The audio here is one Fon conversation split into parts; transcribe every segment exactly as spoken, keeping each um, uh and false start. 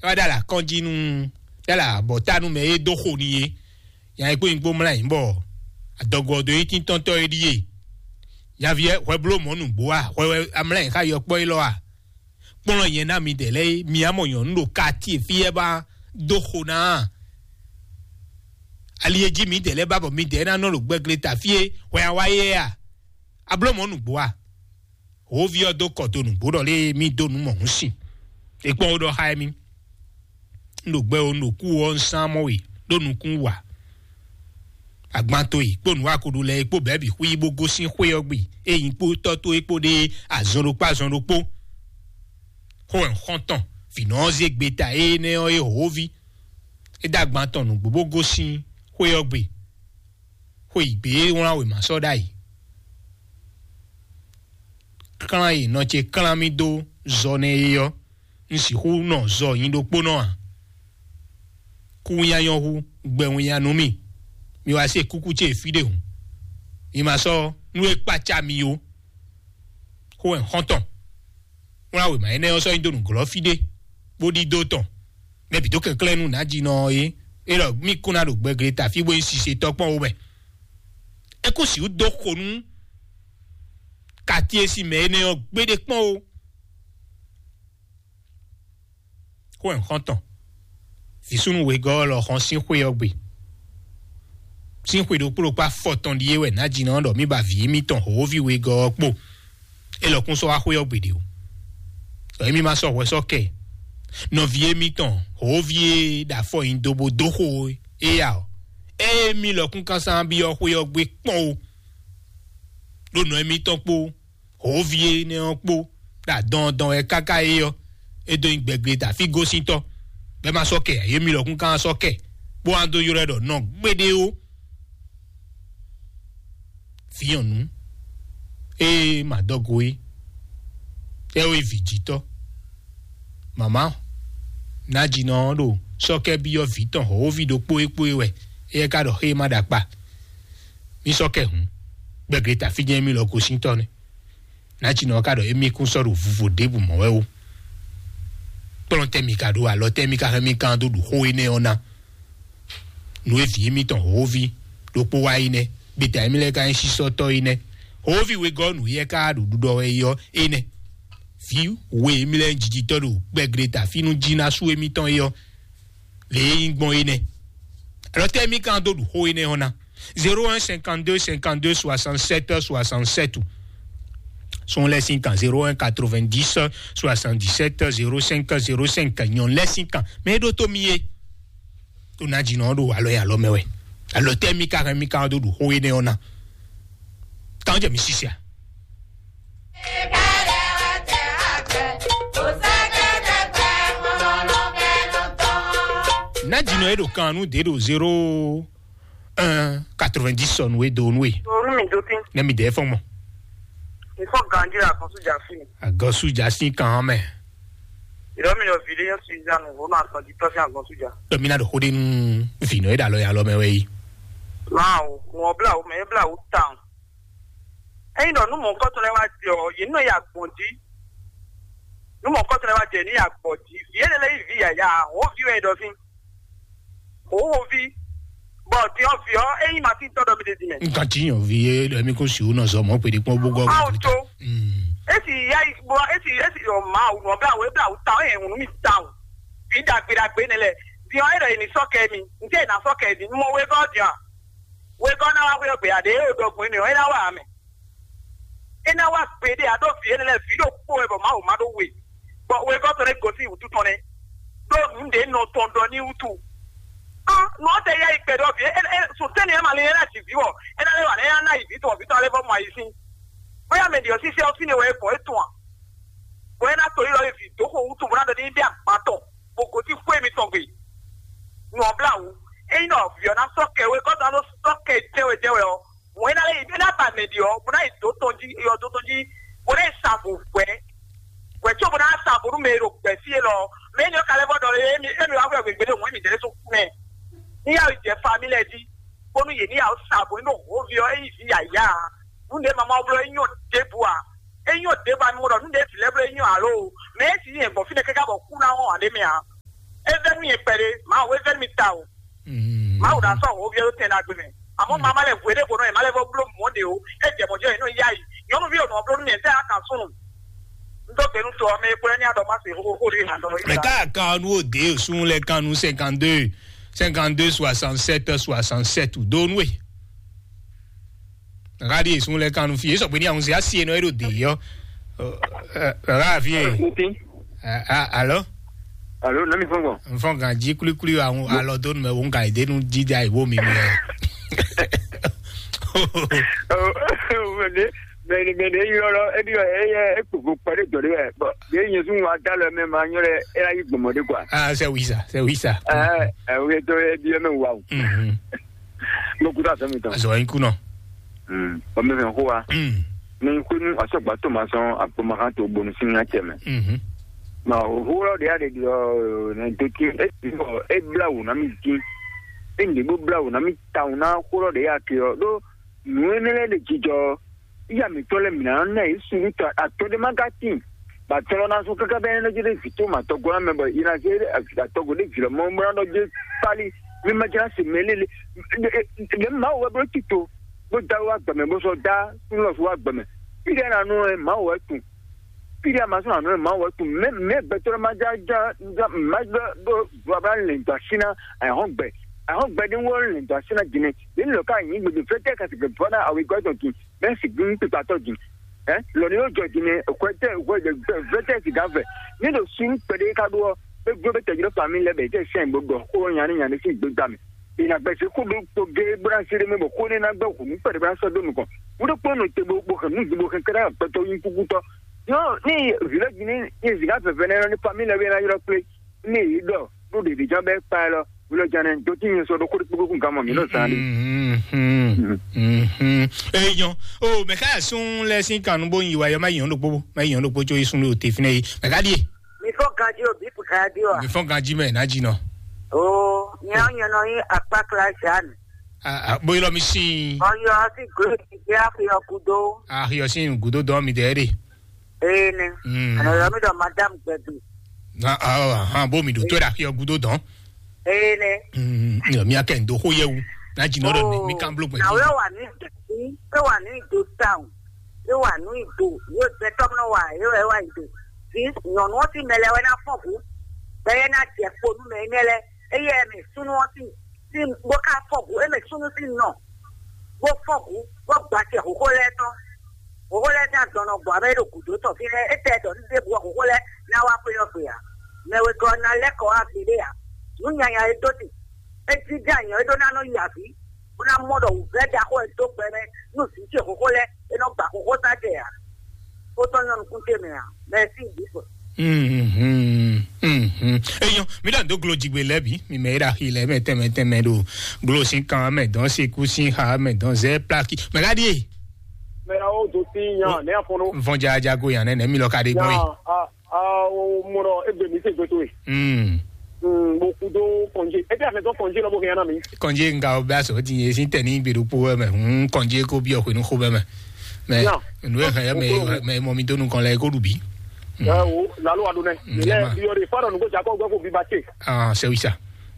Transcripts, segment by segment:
wá ɖo alakɔ́njí nú, ɖo alabɔ̌ta nú mɛ e dó xo n'i é. Nya e kpó nyí kpó mlá nyǐ bɔ adɔgo ɔ́ dó nyí tíntɔ́ntɔ́ é ɖíe. Nyaví ɛ hwɛ bló mɔ̌ nǔgbó a? Hwɛ wɛ amlá nyǐ xá yɔkpɔ́ élɔ́ a? Kplɔ́n nyɛ ná midɛɛ lɛ́ɛ é, mi á mɔ nyɔ̌nu ɖo katíe fí ɛ bá dó xo ná a? Ali e jí midɛɛ lɛ́ɛ bá bɔ midɛɛ ná nɔ ɖo gbɛgle ta fí é, hwɛ a wá yɛ a? A bló mɔ̌ nǔgbó a? Hǒví ɔ́ dó kɔ dó nǔgbó ɖɔ lé mì dó nǔ mɔ̌hun sin. É kpɔ́n ó ɖɔ xá émí. Un ɖo gbɛ ó, un ɖo kú ɔ́, un sán mɔ we ɖó nukún wǎ. Agbanto e kpó nǔwakoɖu lɛ́ɛ e kpó bɛ̌ bǐ xwí bó gosín xwé ɔ́ gbe, é nyí kpó tɔ́ towe kpó ɖé azɔn ɖokpó azɔn ɖokpó. Xó wɛ un xɔ́n tɔn, vǐnɔ ɔ́ zé gbeta énɛ́ ɔ́ é hǒví. É dó agban tɔn nǔgbó bó gosín xwé ɔ́ gbe. Xwe yǐgbe e wlán wěma sɔ́ ɖ'ayǐ. Klán e nɔ ce klán mì dó zɔ nɛ́ é ɔ́, un sixú nɔ zɔ nyi ɖokpónɔ ǎ. Kú winnyá nyɔ́ hú, gbɛ winnyá nú mì. Mi wá se kúkú ce fí ɖé hǔn. Mi ma sɔ́ nú e kpácá mi ó. Xó wɛ xɔ́ntɔn. Wlán wěma énɛ́ ɔ́ sɔ́ nyi dó nǔglɔ́ fí ɖé, bó ɖidó tɔn. Mɛ bǐ dó kɛnklɛ́n nú nǎjínɔ ɔ́ é. É ɖɔ mì kún ná ɖo gbɛgle ta fí bó nyí sisetɔ́ kpɔ́n ó mɛ. É kún sixú dó xo nú kati e sin mɛ énɛ́ ɔ́ gbéɖé kpɔ́n ó. Xó wɛ xɔ́ntɔn. Vǐsúnú wegɔ́ ɔ́ lɔ xɔn sín xwé ɔ́ gbe. Sín xwe ɖokpó ɖokpó afɔtɔn ɖíe wɛ nǎjínɔ ɔ́ ɖɔ mì ba vǐ émítɔn hǒví wegɔ́ ɔ́ kpo. É lɔkún sɔ́ wá xwé ɔ́ gbe ɖě o. Ɖɔ émí ma sɔ́ hwɛ sɔ́ kɛ nɔví émítɔn hǒví e ɖo afɔ nyi do bó dó xo é ǎ ɔ́, ée mì lɔkún kásán byɔ́ xwé ɔ́ gbe kpɔ́n o. Ɖó nɔ émítɔn kpó hǒví énɛ́ ɔ́ kpó ɖo adɔndɔn wɛ káká é ɔ́, é dó nyí gbɛgbléta fí gosíntɔ́, bɔ é ma sɔ́ kɛ ǎ, yě mì lɔkún kán sɔ́ kɛ, bó wá dó ylɔ́ ɛ ɖɔ nɔ gbéɖé ó. Vǐ nyɔ̌nu e ma dɔgo é, é wɛ vǐ jítɔ́. Mama nǎjínɔ ɔ́ ɖo sɔ́kɛ́ byɔ́ vǐ tɔn hɔ̌wóví ɖokpó é kpó é wɛ, éyɛ́ ka ɖɔ xé e ma ɖo akpa. Mì sɔ́ kɛ hǔn, gbɛgleta fí jɛ́n émí lɔ gosíntɔ́ nɛ́. Nǎjínɔ ɔ́ ka ɖɔ émí kún sɔ́ ɖo vuvo ɖěbǔ mɔ wɛ ó. Kplɔ́n tɛ́ mi ka ɖó, alɔ tɛ́ mi ka hɛn mì kán dó ɖu xó énɛ́ ɔ́ ná? Nǔ e vǐ émítɔn hǒví ɖokpó wá yi nɛ́, gbeta émí lɛ́ɛ ka nyí sísɔ́tɔ́ yi nɛ́. Hǒví wegɔ́ nǔ yɛ ka ɖo ɖuɖɔ wɛ yi ɔ́ é nɛ́. Vǐ we émí lɛ́ɛ nyí jijitɔ́ ɖo gbɛgleta fí nú jí ná sú émítɔn é ɔ́, lě e nyí gbɔn é nɛ́. Alɔ tɛ́ émí ka dó ɖu xó énɛ́ ɔ́ ná? Zéro un cinquante-deux cinquante-deux soixante-sept soixante-sept. Sɔn lɛ́ sín kan zéro un quatre-vingt-dix soixante-dix-sept zéro cinq zéro cinq, nyɔn lɛ́ sín kan. Mɛ e ɖó tó mi é. Tó ná jínɔ ɖo alɔ e alɔ mɛ wɛ. Alɔ tɛ́ mi ka hɛn mi ka dó ɖu xó énɛ́ ɔ́ ná? Kan jɛ mi sisi a? Ná jínɔ e ɖo kan nú dě ɖo zéro un quatre-vingt-dix sɔnu e do nú e. Onu mi do tin. Ne mi dɛ fɔn mɔ. Mi fɔ ganji la kan su ja fi. Agɔsu ja sin kan mɛ. Ìdɔ mi lọ vi de yẹn si ja nu vo na kan di tɔ si agɔsu ja. Dɔ mi na ɖo xó ɖe nú vinɔ e ɖo alɔ ya lɔ mɛ wɛ yi. Maa o, ŋɔ bla o, mɛ e bla o tan. Eyin dɔ nu mɔ kɔtɔ lɛ wa jɛ ɔ, yi nɔ ya gbɔn ji. Nu mɔ kɔtɔ lɛ wa jɛ ni ya gbɔn ji. Vi ele lɛ yi vi yaya, o vi wɛ dɔ fi. Hǒxoví, bɔ din ɔ́ vǐ ɔ́, é nyí Matín tɔ́ ɖɔ mi ɖe din mɛ. Nka tí yàn vi é ɖɔ mi kó si wò nɔ zɔ mɔ pé ɖé kpɔ́n bó gɔ́. Mawu tó. Mm. Esi ya yi bɔ esi esi yɔ Mawu nɔ bla wò, ebla wò ta ɔ́, yɛ ŋunu mi ta o. Vǐ ɖagbe ɖagbe nɛ lɛ. Din ɔ́, é ɖɔ yě ní sɔ́ kɛ mi. Ntɛ́ yě ná sɔ́ kɛ din? Mɔ wegɔ́ din a? Wegɔ́ ná wá hwé ɔ́ gbe a? Ɖě é ɖɔ gbɔn énɛ́ ɔ́, é ná wá ǎ mɛ. É ná wá gbeɖé ǎ, ɖó vǐ énɛ́ lɛ́ɛ vǐ ɖokpó wɛ bɔ Mawu má ɖó we, bɔ wegɔ́ tɔn lɛ́ gosín wǔtu tɔn nɛ́, ɖó nǔ ɖě nɔ tɔn ɖɔ ní wútu. Á, nǔ ɔ́ tɛ yá yi kpɛɖɔ́ vǐ é, é, sɔtɛ́ nɛ́ ma lin é ná ji vǐ wɔ, é ná lɛ́ wǎ lɛ́ ná yi vǐ tɔn, vǐ tɔn lɛ́ vɔ mɔ ayǐ sín. Bóyá mɛ ɖě ɔ́ sísɛ ɔ́ fínɛ́ wɛ é gbɔn é tɔn a? Bɔ é ná to yi lɔ yi vǐ dó xo wútu bó ná ɖɔ ní bí agban tɔn, bó gosín xwé mitɔn gbe. Nǔ ɔ́ blá wǔ. Ényí nɔ vǐ ɔ́ ná sɔ́ kɛ wegɔ́ tɔn ná nɔ sɔ́ kɛ jɛ́wɛ jɛ́wɛ ɔ́, Mɔ̌ é ná lɛ́ yi, é ná ba mɛ ɖi ɔ́, bó ná yi dǒ tɔn jí, yɔ dǒ tɔn jí, bó ná yi sa vo hwɛ̌. Hwɛ̌ có bó ná sa vo nú mɛ e ɖo gbɛ̌ fí élɔ́ ɔ́. Mɛ énɛ́ ɔ́ ka lɛ́ vɔ ɖɔ émí émí wá hwɛ wěgbé ɖo hǔn émí jɛ ɖésú kú mɛ. Ní yá yi jɛ famí lɛ́ɛ jí, bónú yě ní yá sa vo nú hǒví ɔ́, é nyí vǐ yǎyá ǎ. Nǔ ɖě mama ɔ́ bló é nyɔ́ ɖěbǔ ǎ. É nyɔ́ ɖěbǔ ǎ, mi mɔ ɖɔ nǔ ɖě vǐ lɛ́ɛ bló é nyɔ́ ǎ ló. Mɛ é si nyí hɛ̌ngbɔ́n fínɛ́ káká bɔ kú ná wɔn ǎ ɖ'é mɛ ǎ. É vɛ́ nú nyɛ kpɛɖé, Mawu é vɛ́ nú mi ta o. Mawu ɖo asɔ ho byɔ́ ɖó tɛn ɖagbe mɛ. Àmọ́ màá má lɛ hwe ɖé ko nɔ yě má lɛ vɔ bló mɔ̌ ɖe o. É jɛ mɔ̌ jɔ yě nɔ yá yi. Nyɔ̌nuví ò nɔ bló nú mì, ɛ tɛ́ a kan súnnu. Un dó gbe nú to ɔ́ mɛ é kplɔ́ ní adɔ má se xóxó ɖé nǎ dɔ. Mɛ ká kan nú òde sún lɛ kan nú cinquante-deux, cinquante-deux soixante-sept soixante-sept dó nú e. Ɣaɖi sun lɛ kan nu fi esɔ gbe ní ahun se asi enɔ eɖo de yɔ. Ɣa fi e. Alo. Alo, nami fɔn gbɔn. Nfɔn gan ji kulikuli ahun alɔ do numɛ wo nka ede nu dida iwo mi mi. Mɛni mɛni eyɔ lɔ ebi yɔ eyɛ ekpogbo kpɛɖe dɔ de wɛ bɔn ye nyɛ sun wa da lɔ mɛ ma nyɔ lɛ ela yi gbɔmɔ de kwa. Ah, c'est oui ça, c'est oui ça. Ɛ ɛ o ye dɔ ebi yɛ mɛ wa o. Mhm. Mo kuta sɛmi tɔn. Azɔ in kunɔ. Ɔmɛ fɛn xó wa. Mm. Ní kúnú asɔgba tó ma sɔn akpɔmakan tó bonu sín nya tɛ mɛ. Mhm. Ma òhúrɔ ɖe aɖe ɖi ɔ nɛ dókè e ti bɔ e bla wò ná mi dín. E ŋɖe bó bla wò ná mi ta wò ná xúrɔ ɖe ya ke ɔ ɖó nǔ énɛ́ lɛ́ɛ ɖe jijɔ. Iya mǐtɔn lɛ́ɛ mǐ ná ná yě suɖú tɔ atɔ́ ɖé má ka tíin. Ba tɔlɔ na sún káká bɛ nɔ jɛ ɖe vǐ tó ma tɔgɔ na mɛ bɔ yi na jɛ ɖe atɔgɔ ɖe vǐ lɔ mɔ mɔ nɔ jɛ pali mi ma jɛ na se mɛ lele. Ɖe ma wɔ bro tito bó da wa gbɛmɛ bó sɔ da lɔ wa gbɛmɛ. Fi ɖe na nɔ ɛ ma wɔ tun. Fi ɖe ma sɔ na nɔ ɛ ma wɔ tun. Mɛ mɛ gbɛtɔ ma ja ja ja ma gbɛ ɖo do abla lɛ do asi na. Ahɔn gbɛ ahɔn gbɛ ɖe wɔ lɛ do asi na dine. Ɖe lɔ ka nyi gbede fɛ tɛ ka se gbɛ bɔ na awi gɔ tɔn kin. Mɛ si gbin kpekpatɔ dzi. Ɛ lɔ ni yóò jɔ dzi nɛ hwɛtɛ hwɛtɛ sika vɛ. Ní ɖo sun kpɛɖé ka ɖó ɔ, é gblo bɛ tɛjlɔ fami lɛ bɛ tɛ sɛn bó ɖɔ xó nya ní nya ní sín gbégbá mɛ. Ìnàgbẹ́ sí kó ɖó kpogé bóná sí ɖé mɛ bɔ xó ní ná gbɛ hǔn kpɛɖé bóná sɔ́ dó nukɔn. Wúɖó kpɔ́n nɔ te bó bó hɛn nú bó hɛn kɛɖá gbɛtɔ yín kúkútɔ. Yɔ ní vǐ lɛ́ jí ní zika vɛvɛ nɛ́ ní fami lɛ wé ná ylɔ́ kplé. Ní yě ɖɔ ɖó ɖěɖíján bɛ́ kpa ɛ lɔ, wulɔjánɛ dó tí nyɛ sɔ ɖó kóɖó kpókpó kún gamɔ mǐ nɔ zán ɖi. Eyɔn o mɛ ká sún lɛ sín kan nú bó yin wa yɔ má yin ɔn ɖokpó má yin ɔn ɖokpó tso yi sún lé o te fínɛ yi mɛ ká ɖíe. Mi fɔ ganji o, bipu ganji o. Mi fɔ ganji mɛ ná jí nɔ. O nyɛ nyɛ nɔ yin akpa kla Jeanne. Bó yi lɔ mi sín. Ɔyɔ sí glo ti gbé afiyɔ kudo. Ahiyɔ sín gudo dɔn mi dɛ ɖe. Ee nɛ. Mm. Anɔ yɔ mi ɖɔ madame gbɛgbe. Na awa hã bó mi ɖo tó ɖe axi ɔgúdó dɔn. Ee nɛ. Mm, mi akɛ ndo xó yɛ wu. Na dzi nɔ ɖɔ mi kan blo gbɛ. Na wɛ wà ní ìdòtí, wɛ wà ní ìdò town, wɛ wà ní ìdò, wɛ gbɛtɔ mi nɔ wà, wɛ wà ìdò. Fi nyɔnu ɔti mɛ lɛ wɛ na fɔ ʋu. Bɛ yɛ na jɛ kponu mɛ nɛ lɛ. Eye mɛ sunu ɔti. Sín bó ká fɔ hu émɛ súnú sín nɔ, bó fɔ hu, bó gba acɛ hǒxo lɛ́ɛ tɔn. Hǒxo lɛ́ɛ sín adɔn nɔ gbɔ abe é ɖo gǔdo tɔn fínɛ́, é tɛ ɖɔ ní ɖěbǔ ɔ́ hǒxo lɛ́ɛ ná wá xwé ɔ́ gbe ǎ. Mɛ wegɔ́ ɔ́ ná lɛ́ kɔ wá gbeɖé ǎ. Nǔ nyanya e dó ti, é jínjɔ́n anyɔ é ɖó ná nɔ yi avǐ, bó ná mɔ ɖɔ wǔvɛ́ ɖaxó e dó gbɛ mɛ nú vǐ ce hǒxo lɛ́ɛ, é nɔ gba hǒxo sá jɛ ǎ. Kó tɔn nyɔ́ nukún ce mɛ ǎ. Mɛsí bǐ. Mhm, mhm. Eyɔn, mi ɖɔ do glo jigbe lɛ bi, mi mɛ ira xi lɛ mɛ tɛmɛ tɛmɛ ɖo glo sin kan mɛ dɔn se ku sin xa mɛ dɔn zɛ plaki. Mɛ ka die? Mɛ awo do sin yan ne afɔnɔ. Nfɔn ja ja go yan ne ne mi lɔ ka de gbɔn yi. Yan a a o mɔrɔ egbe mi se gbe to yi. Mm. Mm, bo kudo kɔnje. E bi afɛ tɔn kɔnje lɔ bo hɛn na mi. Kɔnje nga o bɛ aso ti ye sin tɛ ni gbe do po mɛ. Mm, kɔnje ko bi o ko nu ko bɛ mɛ. Mɛ nu e hɛn mɛ mɛ mɔ mi do nu kɔn lɛ ko du bi. Ɛ wo lalo wa do nɛ. Lɛ bi yɔ de fa dɔ nugo jakɔ gbɛ ko bi ba te. Ah, c'est oui ça.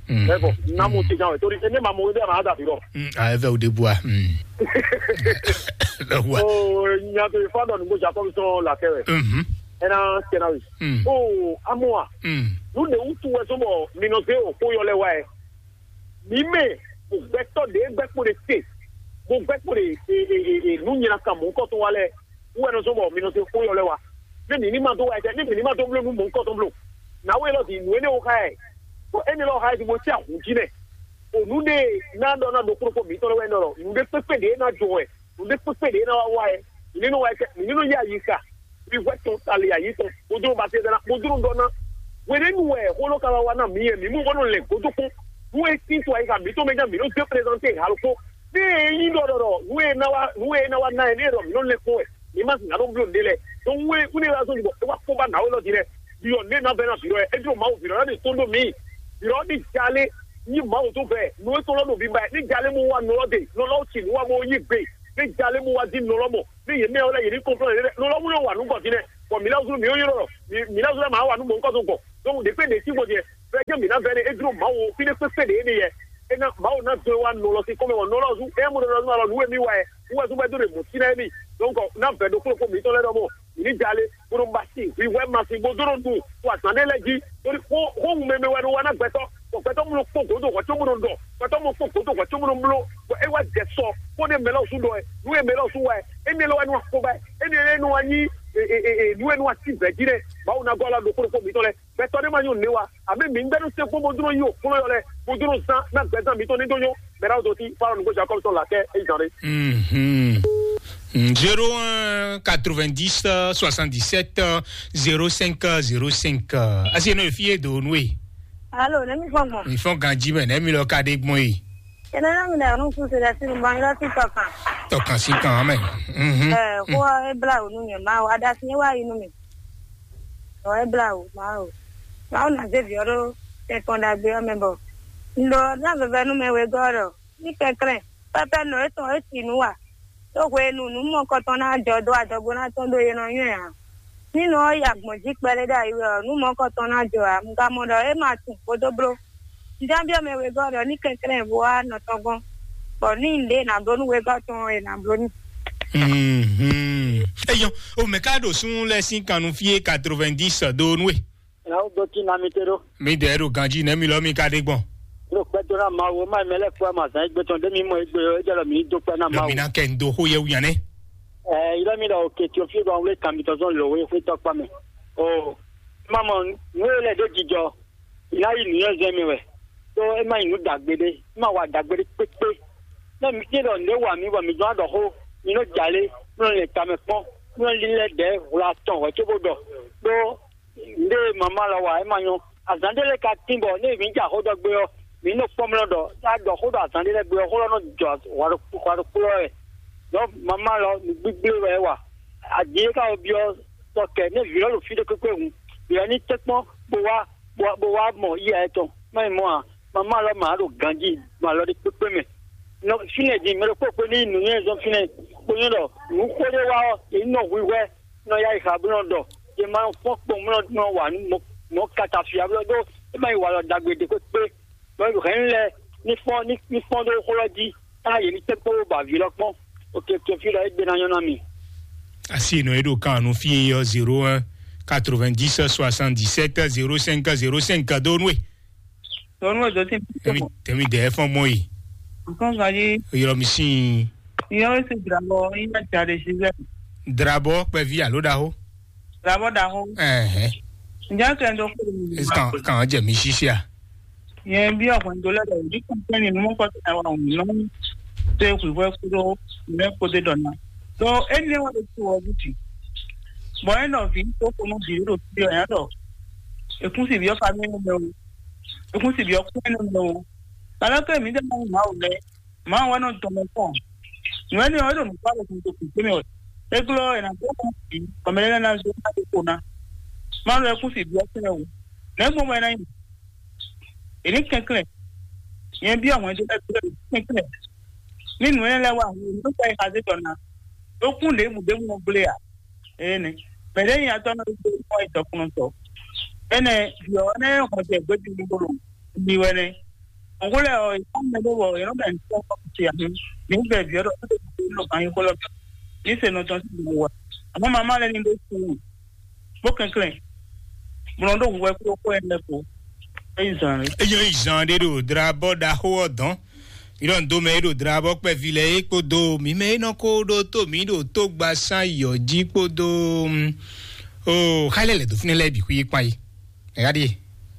Ɛ bɔ na mo te jan wɛ tori ne ma mo de ma da bi rɔ. Ah, ɛ vɛ o de bua. Bɛ bua. O nya to fa dɔ nugo jakɔ sɔn la kɛ wɛ. Mhm. Ɛ na kɛ na wi. Mm. O amoa. Mm. Nu de wutu wɛ so bɔ mi nɔ se o ko yɔ lɛ wa ɛ. Mi mɛ o gbɛtɔ de gbɛ kpo de te. Mo gbɛ kpo de e e e e nu nyina kan mo kɔ to wa lɛ. Wɛ nɔ so bɔ mi nɔ se ko yɔ lɛ wa. Ne mi ni ma do wa ɛ ne mi ni ma do blo nu mo kɔ to blo. Na wo elɔ di nu ene wo xa ɛ. Ko ene lɔ xa ɛ di mo ti ahun ji nɛ. O nu de na dɔ na do kpokpo mi tɔ lɛ wɛ nɔ lɔ. Nu de kpekpe de na jɔ wɛ. Nu de kpekpe de na wa wa ɛ. Mi ni nɔ wa ɛ mi ni nɔ ya yi xa. Mi hwɛ tɔn tali ayi tɔn. Mo dro ba te dana mo dro dɔ na. Wɛ ne nu wɛ xolo ka wa wa na mi yɛ mi mu bɔ nɔ lɛ godo ko. Nu e sin to ayi ka mi to mɛ ja mi nɔ de prezante halo ko. Ne e yin ɖɔ ɖɔ ɖɔ nu e na wa nu e na wa na ɛ ne ɖɔ mi nɔ lɛ kpɔn wɛ mi ma sina ɖo blo ɖe lɛ. Donc nu e nu e wa zɔn bɔ e wa kpɔn ba na we lɔ di lɛ bi ɔ ne na bɛ na bi ɔ e dro mawu bi ɔ ne to do mi bi ɔ ni jale ni mawu to bɛ nu e to lɔ do bi ba ni jale mo wa nɔ lɔ de nɔ lɔ ti nu wa mo yi gbe ni jale mo wa di nɔ lɔ mɔ ni yɛ mɛ wala yɛ ni kɔnflɔ yɛ nɔ lɔ mu yɔ wa nu gɔ di lɛ bɔn mi la zun mi yɔ yɔrɔ mi la zun ma wa nu mɔ nkɔ to gɔ donc de pe de si gɔ di lɛ Vɛ̌ jɛ́n mǐ ná vɛ́ ɖe, é jló Mawu o, fí ɖé kpékpé ɖě é ɖe yɛ. É ná Mawu ná dɔn wá nɔ lɔ sín kɔ́mɛ wɔ nɔ lɔ zú, éyɛ́ mɔ ɖɔ lɔ zú alɔ nǔ e mì wa ɛ, wú wɛ zú bɔ é dó ɖe mɔ̌ sín ná émí. Donc ná vɛ̌ ɖokpó ɖokpó mǐtɔn lɛ́ɛ ɖɔmɔ, mǐ ní jalé, bó nɔ ba sin hwǐhwɛ́ ma sin bó dó nɔ nu, to azǎn ɖé lɛ́ɛ jí. Tóní xó xó ŋu mɛmɛ wɛ nɔ wa ná gbɛtɔ́, bɔ gbɛtɔ́ mɔ kpó gǒdo hwɛ̌ có bó nɔ ɖɔ, gbɛtɔ́ mɔ kpó gǒdo hwɛ̌ có bó nɔ bló, bɔ é wá jɛ sɔ, bó ɖe mɛ lɔ sú ɖɔ ɛ, nú e mɛ lɔ sú wa ɛ, énɛ́ lɔ wɛ nɔ wá kpó ba ɛ, énɛ́ lɔ wɛ nɔ wá nyí nú e nɔ wá sí vɛ̌ jí nɛ́. Mawu ná gɔ́ alɔ ɖokpó ɖokpó mǐtɔn lɛ́ɛ. Gbɛtɔ́ ɖé ma nyɔ nǔ wa, àbí mǐ gbɛ́ nú sɛ́nkpɔ́n bó dó nɔ yí òkplɔ́yɔ lɛ́ɛ, bó dó nɔ zán ná gbɛzán mǐtɔn ní dó nyɔ́. Mɛ ɖaxó dó tí fá ɔ́ nǔgbó Jakɔ́b tɔn là kɛ é zán ɖé. Mhm. Zéro un quatre-vingt-dix soixante-dix-sept zéro cinq zéro cinq. Asi eno efi e do nu e. Alo, ne mi fɔ gbɔn. Mi fɔ ganji mɛ ne mi lɔ ka ɖe gbɔn e. Ene na mi na nu su se da si nu ban ila ti tɔ kan. Tɔ kan si kan mɛ. Mhm. Eh, ko e bla o nu nyɛ ma o, ada si wa yi nu mi. Ɔ e bla o ma o. Ma o na ze vi ɔɖo tɛkɔn ɖagbe ɔ́ mɛ bɔ. Ndo na veve nu mɛ wegɔ́ ɖɔ. Ní kɛnklɛ́n, pɛ́pɛ́ nɔ étɔn é si nǔ wa, ɖó hwenu nǔ mɔkɔtɔn ná jɔ dó adɔgo ná tɔn ɖó yě nɔ nywɛ́ ǎ. Ní nɔ ɔ́ yi agbɔ̌n jí kpɛɖé ɖo ayi wɛ ɔ́, nǔ mɔkɔtɔn ná jɔ ǎ. Un ka mɔ ɖɔ é ma tunwun bó dó bló. Un ján byɔ́ mɛ wegɔ́ ɖɔ ní kɛnklɛ́n bó wá nɔ tɔn gɔ́n, bɔ ní ɖě è nǎ bló nú wegɔ́ tɔn ɔ́, è nǎ bló n'i. Mhm. Eyɔn, o mɛ ka ɖo sún lɛ sín kannú fí é quatre-vingt-dix do nú e. Nya wo dó cí na mi te ɖó. Mi dɛ ɖo ganji nɛ mi lɔ mi ka ɖe gbɔn. Ɖo kpɛdó ná Mawu, ma mɛ lɛ kpó amazan egbe tɔn ɖé mi mɔ egbe ɔ, edze lɔ mi dó kpɛ ná Lɔ Mawu. Mi ná kɛ ndo xó yɛ wuyan nɛ. Ɛ, ilé mi ɖɔ òkè tí o fi ɖɔ wlé kan mi tɔn zɔn lò wé xwé tɔkpa mɛ. O, ma mɔ nú e lɛ ɖé jijɔ, ì ná yi nǔnywɛ́zɛn mɛ wɛ. Tó e ma yi nǔ dàgbé ɖé, e ma wa dàgbé ɖé kpékpé. Nɛ mi tí ɖɔ nǔ e wa mi bɔ mi dɔn aɖɔ xó, mi nɔ jalé, mi nɔ lɛn tamɛ kpɔn, mi nɔ lílɛ́ ɖɛ̌ hwla tɔn hwɛ cóbó ɖɔ. Ɖó Nde mama lɔ wa é ma nyɔ. Azǎn ɖé lɛ́ɛ ka tín bɔ nú mǐ ja xó ɖɔ gbé ɔ́, mǐ nɔ kpɔ́n mlɔ́ ɖɔ é wá ɖɔ xó ɖɔ azǎn ɖé lɛ́ɛ gbé ɔ́, xó lɔ nɔ jɔ hwaɖokpó hwaɖokpó lɔ wɛ. Ɖɔ mama lɔ nǔgbígblé wɛ é wa. Adi e ka wɔ byɔ́ tɔ kɛ nú vǐ lɔ ɖo fí ɖé kpékpé hǔn, vǐ lɔ ní tɛ́nkpɔ́n bó wá bó wá bó wá mɔ yíyá yɛtɔn. Má nyí mɔ̌ ǎ, mama lɔ ma ɖo ganjí mɔ alɔ ɖé kpékpé mɛ. Nɔ fínɛ́ din mɛ ɖokpó kpé ní nǔnywɛ́ zɔn fínɛ́, bó nyɔ́ ɖɔ nǔ xó ɖé wá ɔ́, è ní nɔ hwihwɛ́ nɔ yá yi xa bó nɔ ɖɔ, è ma nɔ fɔ́n kpɔn bó nɔ wǎ nú mɔ̌ kata fia blɔ́ ɖó é ma yi walɔ ɖagbe ɖé kpékpé. Bɔ hɛ̌nnu lɛ́ɛ ní fɔ́n ní ní fɔ́n ɖó xó lɔ jí, tá yě ní tɛ́ kpó bɔ avǐ lɔ kpɔ́n. Oke, to fí lɔ é gbe ná nyɔ́ ná mi. Asi nɔ e ɖo kan nu fie yɔ zéro un quatre-vingt-dix soixante-dix-sept zéro cinq zéro cinq do nue. Tɔnu edzo ti Temi temi de fɔn mɔ yi. Nǹkan kan yí Yɔ mi sin. Ìyẹn ó sì dìrà bọ̀ yín náà jáde síbẹ̀. Drabɔ kpɛvi alo ɖaho. Dìrà bọ̀ dà hó. Ɛhɛn. Ǹjẹ́ kẹ́ ń dọ́ kúrò nínú? Kan kan jɛ mi sisia. Yẹn bí ọ̀gbìn tó lẹ́dọ̀ yìí kún fún nínú mọ́kọ́ tó náà wà wọ́n náà. Tó eku ìwé kúrò ìwé kó dé dọ̀nà. Tó ẹni wọ́n lè tu ọdún tì. Bọ̀ ẹ̀ náà fi tó kónú bì í rò sí ọ̀yàn dọ̀. Èkún sì bí ọ̀fà mi nínú mi o. Èkún sì bí ọkùnrin nínú mi o. Kàlọ́ kẹ́ mi dẹ́ mọ́ ìmọ̀ àwọn lẹ́. Màá wá nɔ dɔn mɛ kpɔn. Nǔ énɛ́ ɔ́, é ɖo nǔkpá ɖo kúnto kúnto mɛ wɛ. É glɔ́ ɛ nǎ dó kún bǐ, bɔ mɛ lɛ́ɛ ná zé ná dó kpo ná. Má lɔ ɛ kún sì byɔ́ kpɛ́ o. Nɛ̌ gbɔn wɛ ná nyí? È ní kɛnklɛ́n. Nyɛ byɔ́ hwɛndo lɛ́ɛ glɔ́ è ní kɛnklɛ́n. Ní nǔ énɛ́ lɛ́ɛ wá hǔn, nǔ kpɛ́ è xa zé dɔ̌n ná. Ɖó kún ɖěbǔ ɖěbǔ nɔ gblé ǎ. Énɛ́. Mɛ ɖě nyi atɔ́ nɔ ɖo mɔ é dɔkunnɔtɔ. Énɛ́, byɔ̌ énɛ́ hɔn jɛ gběbǐ ní bó ɖo mi wɛ nɛ́. Ògúnlẹ̀ ọ̀ ìfọ́nmẹ́lówó ìrọ́bẹ̀ ń tọ́ ọkùnrin àmì nígbà ìbí ọ̀rọ̀ tó lè fi lọ kàn yín kó lọ́bẹ̀. Ní sènà tán sí ìlú wa. Àmọ́ màmá lẹ́ni ló kú wò. Bó kẹ̀kẹ́. Mo lọ dó wúwẹ́ kúrò kó ẹ̀ lẹ́kọ̀ọ́. Ẹ̀yin zàn rẹ̀. Eyɔn izan ɖe ɖo drabɔ ɖaxó ɔdɔn. Irɔ ndo mɛ ɖo drabɔ kpɛvi lɛ é kpodo mi mɛ nɔ ko ɖo to mi ɖo to gba san yɔ jí kpodo. O xalɛ lɛ do fúnɛ lɛ bi xú yé kpa yi. Ɛ̀yá ɖíe.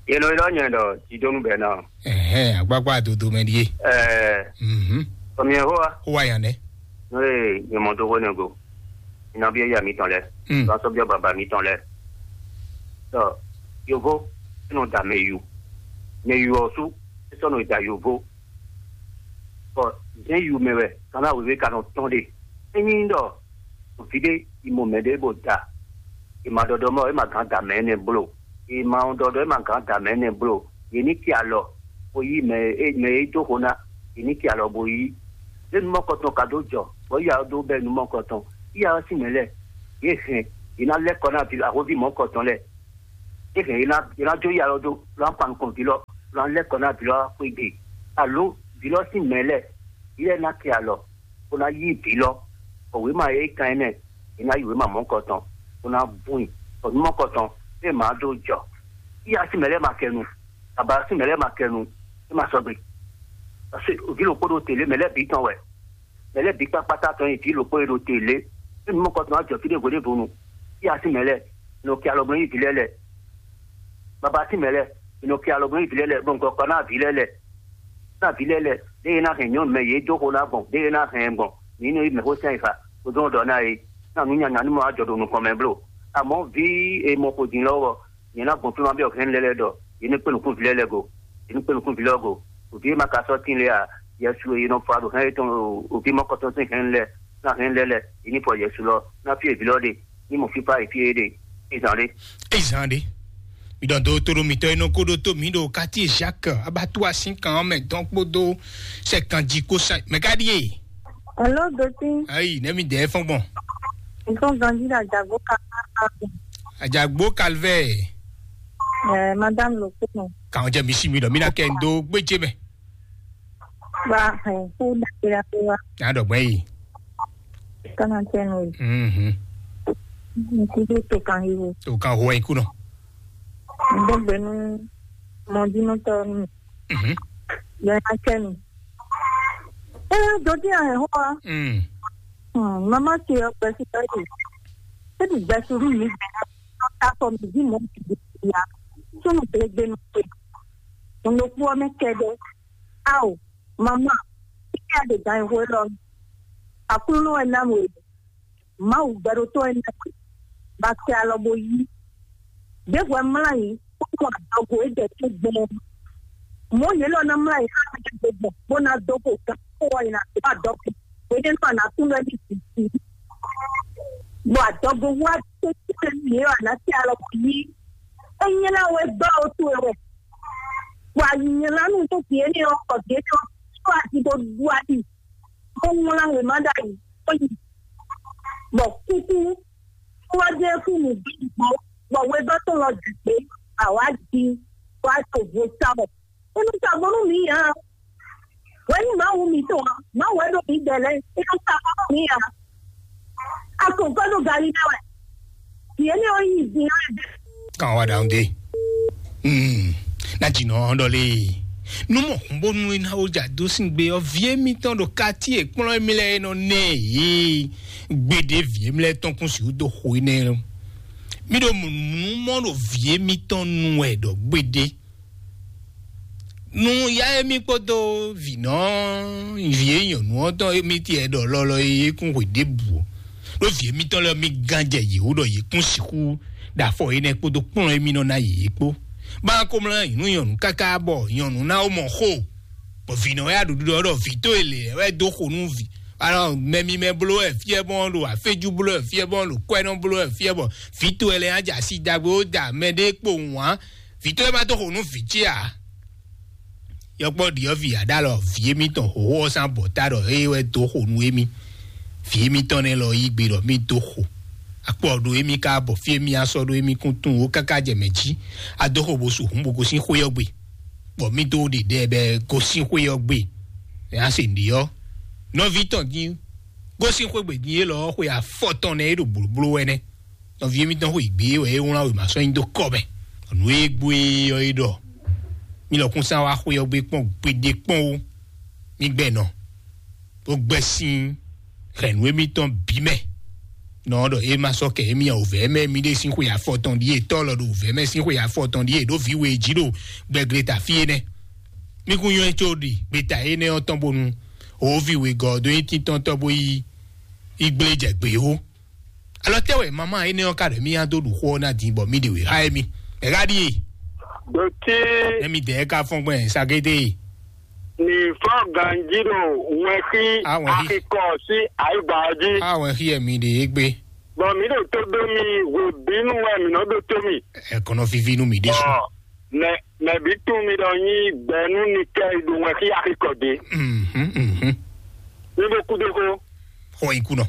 Yɛlɛ yɛlɛ nyɛ ɖɔ jidonu bɛ na. Ɛhɛn, agbagba dodo mɛ ɖíe. Ɛɛ, Mhm. Tɔmiyɛ hoa, Ó wá yàn dɛ. N'o ye nyɛmɔdogo ne go. Ina bi ya mi tɔn lɛ. Mm. Ba sɔ bi baba mi tɔn lɛ. Tɔ, yovo, eno da mɛ yu. Mɛ yu ɔ su, esɔ no da yovo. Bɔ zɛn yu mɛ wɛ, kana wěwé ka nɔ tɔn ɖe. Enyi ɖɔ, vide, imo mɛ ɖe bo da. Ema ɖɔɖɔ mɔ, ema gán da mɛ nɛ blo. Ema ɖɔɖɔ, ema gán da mɛ nɛ blo. Yě ní ki alɔ, bo yí mɛ e mɛ e dó xo ná. Yě ní ki alɔ bo yí. Lé numɔkɔtɔn ka dó jɔ, bɔ yíya ɔ́ dó bɛ́ numɔkɔtɔn. Yíya ɔ́ sín mɛ lɛ́ɛ, yě hɛn, yě ná lɛ́ kɔ ná ví ahóví mɔ̌kɔtɔn lɛ́ɛ. É hɛn é ná é ná jó yi alɔ dó, lɔ ná kpan nukɔn vǐ lɔ, lɔ ná lɛ́ kɔ ná vǐ lɔ xwé gbe. Alo vǐ lɔ sín mɛ lɛ́ɛ, vǐ lɛ́ɛ ná kɛ alɔ, bó ná yí vǐ lɔ, bɔ wěma e é kan ɛnɛ, é ná yi wěma mɔ̌kɔtɔn, bó ná bún i, bɔ nú mɔ̌kɔtɔn é má dó jɔ. Yíyá sín mɛ lɛ́ɛ ma kɛ nu, baba sín mɛ lɛ́ɛ ma kɛ nu, é ma sɔgbe. Parce que vǐ ɖokpó ɖo tě lé, mɛ lɛ́ɛ bǐ tɔn wɛ. Mɛ lɛ́ɛ bǐ kpákpátá tɔn nyi vǐ ɖokpó e ɖo te lě. Ényí mɔkɔ tɔn wá jɔ fí ɖěvo ɖěvo nu, fí asi mɛ lɛ́ɛ, nɔ kɛ alɔ gbɔn nyi vǐ lɛ́ɛ lɛ, baba sín mɛ lɛ́ɛ, nɔ kɛ alɔ gbɔn nyi vǐ lɛ́ɛ lɛ, bɔ nukɔ kɔ ná vǐ lɛ́ɛ lɛ, ná vǐ lɛ́ɛ lɛ, ɖěe ná hɛn nyɔ̌nu mɛ yě dó xo ná gbɔn, ɖěe ná hɛn gbɔn, mǐ nɔ yi mɛ xó sɛn yi fa, bó dó ɖɔ ná é, ná nǔ nyanya ní mɔ wá jɔ ɖo nukɔn mɛ bló. Amɔ̌ vǐ e mɔ xo din lɔ́wọ́, nyɛ ná gbɔn fí ma byɔ́ hɛn lɛ́ɛ lɛ́ɛ ɖɔ, yě ní kpé nukún vǐ lɛ́ɛ lɛ́ɛ go, yě ní kpé nukún vǐ lɛ́ɛ go. Vǐ e ma ka sɔ́ tín lé a, Yɛsu e nɔ fa ɖo hɛn yětɔn o, vǐ mɔkɔtɔn sín hɛn lɛ́ɛ, ná hɛn lɛ́ɛ lɛ́ɛ, yě ní fɔ Yɛsu lɔ, ná fí e vǐ lɔ ɖe, ní mɔ fífá e fí e ɖe, é zán ɖé. É zán ɖé. Mi ɖɔ dó tóɖó mitɔ́ e nɔ kó ɖó tó mǐ ɖo quartier Jacques Abatua sín kan ɔ́ mɛ dɔn kpódó sɛ kanjí kó sa mɛ ká ɖíe. Alo, Dotin. Ayi, nɛ́ mi dɛɛ fɔ́n gbɔn. Nǹkan ganjí la jàgbó ká. Àjàgbó Calvaire. Ẹ, madame Lopino. Kàn jẹ́ mi sí mi lọ, mi ná kẹ́ ń dó gbéjé mẹ́. Ba ẹ kó dàgbé la pé wa. Yà á dọ̀gbẹ́ yìí. Kánà tẹnu yìí. Mhm. Nkú tó tó kan yìí wo. Tó kan ho ẹ̀ kú nọ. Ndógbénu mɔdínú tọ́ nù. Mhm. Yẹn á tẹnu. Ẹ, Dotin ẹ̀ hó wa. Mm. Hmm, mama ce ɔ gbɛsi tɔ yi. Ebi gbɛsi ru mi gbɛ na ta kɔ mi di mɔ mi di ya. Sunu blegbe nu pe. Mo lo kpɔ mɛ kɛ dɛ. Ao, mama, ike a de gan ihwe lɔ. Aklúnɔ ɛ na mo. Mawu gbɛɖotɔ́ ɛ na mo. Ba kɛ alɔ bo yi. Ɖěvo ɛ mlá yi, kpódó adɔgo e jɛ tó gbɔn. Mɔ̌ yě lɔ ná mlá yi xá mɛ ɖé gbɔn, bó ná dó xo gán kpó wá yi ná dó adɔgo. Hweɖénu a nǎ tún lɛ́ ní sisi. Bɔ adɔgo wá tó tún lɛ́ ní yě wá ná tɛ alɔ kò yí. É nyɛ ná wɛ gbá o towe wɛ. Bɔ a yi nyɛ ná nú tó vǐ énɛ́ ɔ́, kɔ vǐ énɛ́ ɔ́, tó a ti dó ɖu aɖi. Ó wlán wěma ɖ'ayǐ, ó yi. Bɔ kúkú, kúwájɛ kú nǔ gbígbó, bɔ wegɔ́ tɔn lɔ jǐ gbé, awǎ jí, wá to vo sá mɔ. É nɔ sa bónú mǐ ǎ. Wɛ̌ nyí Mawu mǐtɔn ǎ, Mawu wɛ ɖo mǐ gbɛ lɛ́ɛ, é nɔ sa bónú mǐ ǎ. A kò gbɔdɔ gali ná wɛ. Yě ní o yí din ɔ́. Kan wa ɖaŋ de. Hmm. Na dzi nɔ ɖɔ lé. Nu mɔ hun bónú é ná ó dza dó sín gbe ɔ́, vǐ émítɔn ɖo kati e kplɔ́n émí lɛ́ɛ é nɔ nɛ yě. Gbeɖé vǐ émí lɛ́ɛ tɔn kún sixú dó xo énɛ́. Mí ɖo mǔ mɔ ɖo vǐ émítɔn nu wɛ ɖɔ gbeɖé. Nu ya émí kpódó vǐnɔ vǐ e nyɔ̌nu ɔ́ tɔn émí tiɛ ɖɔ lɔlɔ e é kún hwe ɖěbǔ ó. Ɖó vǐ émítɔn lɛ́ɛ mí gán jɛ yě wú ɖɔ yě kún sixú ɖo afɔ énɛ́ kpódó kplɔ́n émí nɔ ná yě é kpó. Bá ko mlá nyǐnu nyɔ̌nu káká bɔ nyɔ̌nu ná ó mɔ xó. Bɔ vǐnɔ wɛ aɖuɖu ɖɔ ɖɔ vǐ tó e lě wɛ dó xo nú vǐ. Alɔ mɛ mímɛ́ bló wɛ fíɛ bɔn ɖo aféjú bló wɛ fíɛ bɔn ɖo kwɛ́nɔ bló wɛ fíɛ bɔ vǐ tó e lɛ́ɛ ná jɛ asi dagbe ó da mɛ ɖé kpo wǎn. Vǐ tó e ma dó xo nú vǐ ce ǎ. Yɔkpɔ́ ɖiɔ́ vǐ aɖalɔ vǐ émítɔn hǒxo ɔ́ sín abɔ̌ta ɖɔ é wɛ dó xo nú émí. Vǐ émítɔn nɛ́ lɔ yí gbe ɖɔ mí dó xo. Akpɔ ɖo émí ka bɔ fí émí asɔ ɖó émí kún tunwun ó káká jɛ mɛ jí. A dó xo bo su hǔn bo gosín xwé ɔ́ gbe. Bɔ mí dó ɖe ɖɛ bɛ gosín xwé ɔ́ gbe. Ɛ á se nǔɖé ɔ́. Nɔví tɔn dín gosín xwé gbe dín élɔ́ ɔ́ xwe afɔtɔn nɛ́ é ɖo blǒbló wɛ nɛ́. Nɔví émítɔn xwe gbě wɛ é wlán wěma sɔ́ nyi dó kɔ mɛ. Nǔ e gbó é ɔ́ é ɖɔ: "Mi lɔkun sán wá xwé ɔ́ gbé kpɔ́n gbeɖé kpɔ́n ó, mi gbɛ nɔ, bó gbɛ́ sín hɛ̌nnu émítɔn bǐ mɛ." Nɔ ɔ́ ɖɔ: "É ma sɔ́ kɛ émí ǎ, wǔvɛ́ mɛ mi ɖe sín xwe afɔtɔn ɖíe, tɔ́ lɔ ɖo wǔvɛ́ mɛ sín xwe afɔtɔn ɖíe ɖó vǐ we jí ɖo gbɛgleta fí énɛ́. Mi kún nywɛ́ có ɖi gbeta énɛ́ ɔ́ tɔn bónú wǒ vǐ wegɔ́ ɔ́ dó nyí tíntɔ́ntɔ́ bó yi yi gblé jɛ gbě ó." Alɔ tɛ́ wɛ mama énɛ́ ɔ́ ka ɖɔ mì nyi dó ɖu xó ɔ́ ná din bɔ mì ɖe wě xá émí? Mɛ ká ɖíe? Dotí Émí dɛ̌ ká fɔ́n gbɛn sagédé. Ní fɔ ganji ɖo wɛnxí Awɛnxí. Axikɔ sí ayigba ɔ́ jí. Awɛn xí ɛ mi ɖe é gbé. Bɔ mǐ ɖo tó dó mi, hwebǐnu wɛ mǐ nɔ ɖó tó mi. Ɛkɔnɔ vivi nú mi ɖésú. Ɔ, mɛ mɛ bí tún mi ɖɔ nyi gbɛnú ni kɛ ɖo wɛnxí axikɔ dé. Mhm, mhm. Mi ɖo kúdé xó. Xɔ ikú nɔ.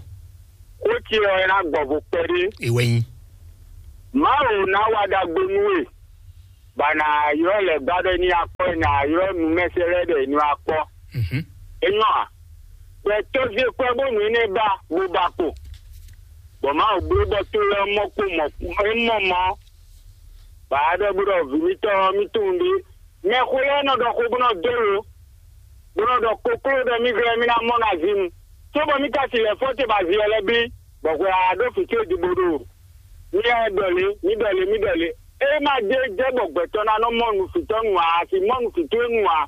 Xó ce ɔ́ ná gbɔ vo kpɛɖé. Ewɛ nyi. Mawu ná wa ɖagbe nú we. bɔ a nǎ ylɔ́ lɛ̌ gbá ɖɔ é ní wá kpɔ́, è nǎ ylɔ́ nǔmɛsɛn lɛ́ɛ ɖɔ è ní wá kpɔ́. É nyɔ́ ǎ. Bɔ è tɔ́ zé kwɛ́ bónú énɛ́ ba bó ba kpo, bɔ Mawu bló bɔ to lɛ́ɛ mɔ kpo mɔ é mɔ mɔ, bɔ a ɖɔ bó ɖɔ vǐ mitɔn ɔ́, mì tunwun ɖě. Mɛxó lɛ́ɛ nɔ ɖɔ xó bó nɔ dó lo, bó nɔ ɖɔ kokló ɖɔ mì glɛ́ mì ná mɔ na zin, cóbɔ mì ka si lɛ̌ fɔ ce bɔ azin ɔ́ lɛ́ bí, bɔ hwɛ a ɖó fǐ ce jí bó ɖo. Mì lɛ́ ɖɔ lě, mì ɖɔ lě, mì ɖɔ lě. É ma ɖé jɛ bɔ gbɛtɔ́ ná nɔ mɔ nǔfitɔ́ nu ǎ, a si mɔ nǔfitɔ́ nu ǎ.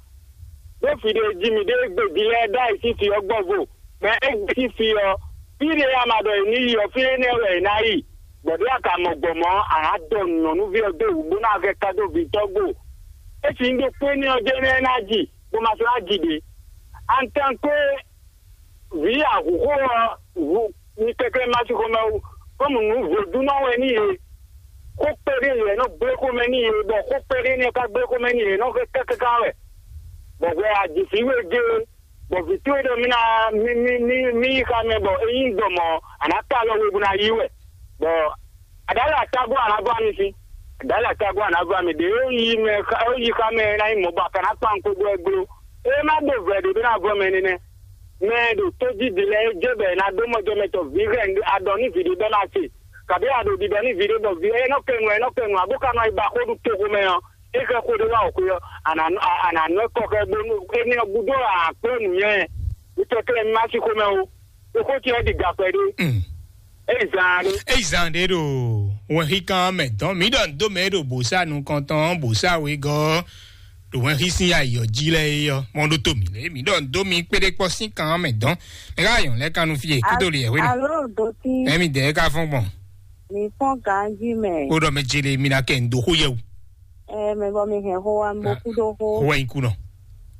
Ɖó fí ɖé jí mì ɖe gbe ví lɛ́ɛ ɖ'ayǐ sín fí ɔ́ gbɔ vo, bɔ é gbe sín fí ɔ́, fí ɖé a ma ɖɔ è ní yi ɔ́, fí énɛ́ wɛ è ná yi. Bɔ ɖěe a ka mɔ gbɔn mɔ̌, a nǎ dɔ nyɔ̌nuví ɔ́ dó wǔ bó ná hɛn ka dó vǐ tɔ́ gbo. É si nyí ɖokpó énɛ́ ɔ́ jɛ́n nɛ́ ná ji, bó ma sɔ́ ná ji ɖě. Antankwe vǐ ahǔxó ɔ́ hu mi kɛkɛ́ ma sín xomɛ wú, kɔ́mu nǔ vodúnɔ wɛ n'i e. Xó kpɛɖé lɛ́ɛ nɔ gblé xomɛ n'i e, bɔ xó kpɛɖé nɛ́ ka gblé xomɛ n'i e nɔ xɛ kákáká wɛ. Bɔ hwɛ a ji fǐ we gé, bɔ vǐ towe ɖɔ mì ná mì mì mì mì yi xá mɛ, bɔ é nyí gbɔn mɔ̌, a nǎ ka alɔ we bó ná yí wɛ. Bɔ aɖǎli atágún a nǎ vɔ ami sín, aɖǎli atágún a nǎ vɔ ami ɖě ó yi mɛ ó yi xá mɛ é ná nyí mɔ̌ bɔ a ka ná kpan kpó gbɔ é gló. É má ɖo vɛ̌ ɖě bó ná vɔ mɛ nínɛ́. Mɛ e ɖo tójídí lɛ́ɛ é jɛ bɔ è nǎ ɖó mɔjɛmɛtɔ́ vǐ hɛn aɖɔ ní vǐ ɖé bɔ é ná se, kabǐ a ɖo ɖiɖɔ ní vǐ ɖé bɔ vǐ é nɔ kɛ nu ɛ nɔ kɛ nu ǎ bó ka nɔ yi ba xó ɖu toxo mɛ ɔ́, é xɛ xó ɖé wá wǒ xwé ɔ́, a nǎ a nǎ nɔ ɛ kɔ xɛ bónú énɛ́ ɔ́ gúdo ǎ kplɔ́ nǔnywɛ́. Mi tɛ́ tlɛ mi má sí xomɛ ó. Xó ce ɔ́ ɖi ga kpɛɖé. É zan ɖé. Eyi zan ɖé ɖo wɛnxíkan mɛ dɔn mǐ ɖɔ nǔ dó mɛ e ɖo bǒsá nukɔntɔn bǒsá wegɔ́ ɖo wɛnxí sín ayǐ ɔ́ jí lɛ́ɛ é ɔ́, mɔ ɖó tó mǐ lé mǐ ɖɔ nǔ dó mi kpéɖé kpɔ́ sín kan mɛ dɔn. Mɛ ká yɔn lɛ́ kan nú fí e kúdó li yɛhwé nɔ. Alo doti. Ɛmi dɛ ká fɔn gbɔn. Mi fɔn ganji mɛ. Ó ɖɔ mɛ jele mi na kɛ nǔ dó xó yɛ o. Ɛ mɛ bɔ mi hɛn xó wa mi bó kúdó xó. Xó wɛ nyí kú nɔ.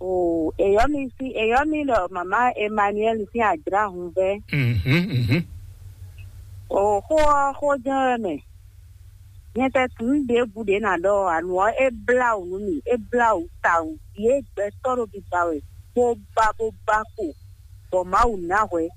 O, èyɔ́ mi sí èyɔ́ mi ɖɔ màmá Emmanuel sín àjrá hun vɛ́. Mhm, mhm. O xó ɔ́ xó jɛ́n wɛ mɛ. Nyɛ tɛ tunú ɖěbǔ ɖě ná ɖɔ anu ɔ́ é blá wǔ nú mì, é blá wǔ tawun. Yě gbɛtɔ́ ɖo biba wɛ, bó ba bó ba kpo, bɔ Mawu ná hwɛ,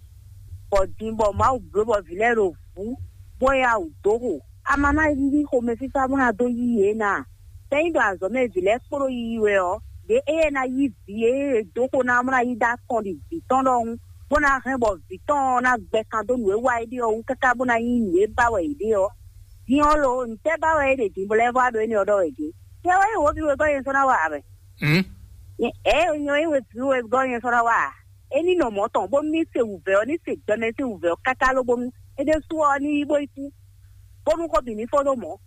bɔ din bɔ Mawu bló bɔ vǐ lɛ́ɛ ɖo vǔ, bó yá wǔ dó xo. A ma ná yí xomɛfífá bó ná dó yí yě ná a? Tɛ́ nyí ɖɔ azɔ̌ mɛ vǐ lɛ́ɛ kpo ɖo yiyi wɛ ɔ́, ɖě éyɛ́ ná yí vǐ e è dó xo ná ɔ́ bó ná yí dó akɔn ɖi vǐ tɔn ɖɔhun, bó ná hɛn bɔ vǐ tɔn ɔ́ ná gbɛ kan dó nǔ e wa é ɖe ɔ́ wú káká bó ná nyí nǔ e ba wɛ yě ɖe ɔ́. Din ɔ́ lo, ntɛ́ ba wɛ é ɖe din bó lɛ́ vɔ wá ɖo énɛ́ ɔ́ ɖɔ wɛ din? Nyɛ wɛ nyí wǒvi wegɔ́ nyɛ sɔ́ ná wa a wɛ? Hm? Nyɛ ɛ nyɛ wɛ nyí wěvi wegɔ́ nyɛ sɔ́ ná wa a? É ní nɔ mɔ̌ tɔn bónú ní se wǔvɛ́ ɔ́, ní se gbɛmɛ sín wǔvɛ́ ɔ́ káká lóbónú é ɖésú ɔ́ ní yí bó yi kú, bónú xó bǐ ní fó ɖó mɔ̌.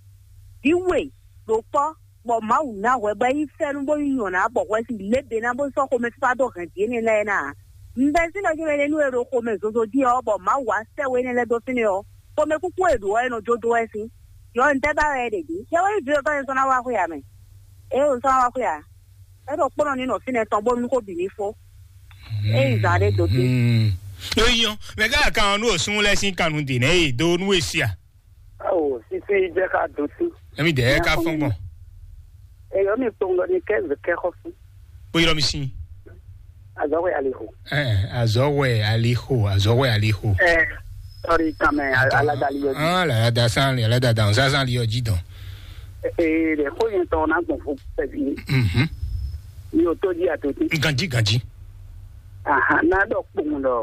Vǐ we ɖo kpɔ́, bɔ Mawu ná hwɛ bɔ é yí fɛ́nú bó yí nyɔ̌ná bɔ hwɛ sín lěbě ná bó sɔ́ xomɛfífá dó hɛn vǐ énɛ́ lɛ́ɛ ná ǎ. Un bɛ́ sín ɖɔ nú we ɖé nú e ɖo xomɛ zozo jí ɔ́, bɔ Mawu wá sɛ́ we énɛ́ lɛ́ɛ dó fínɛ́ ɔ́, xomɛkúkú e ɖǒ ɔ́, é nɔ jó dó wɛ sín. Yɔ un tɛ́ ba wɛ é ɖe dǐ? Yɛ wɛ nyí vǐ wegɔ́ nyɛ sɔ́ ná wá xwé ǎ mɛ. Ée un sɔ́ ná wá xwé ǎ, é ɖo kpɔ́nɔ ní nɔ fínɛ́ tɔn bónú xó bǐ ní fó. É yi zǎn ɖé dó dé. Hmm. Ló nyɔ mɛ ká kan ɔ́ nú òsún lɛ́ sín kannú dě nɛ́ e dó nú e sia. Awo sisi jẹ́ ká dó tú. Emi dɛ ka fɔn gbɔn. Eyɔ mi kpɔngɔ ni kɛ zɛ kɛ xɔ fún. Bó yɔrɔ mi sin. Azɔwɛ aliho. Ɛ azɔwɛ aliho azɔwɛ aliho. Ɛ sɔri kan mɛ alada li yɔ ji. Ah, alada san li alada dan san san li yɔ ji dɔn. Ee, de ko yẹn tɔ na gbɔn fo pɛbi. Mhm. Mi o to di a to ti. Ganji ganji. Aha, na dɔ kpɔngɔ dɔ.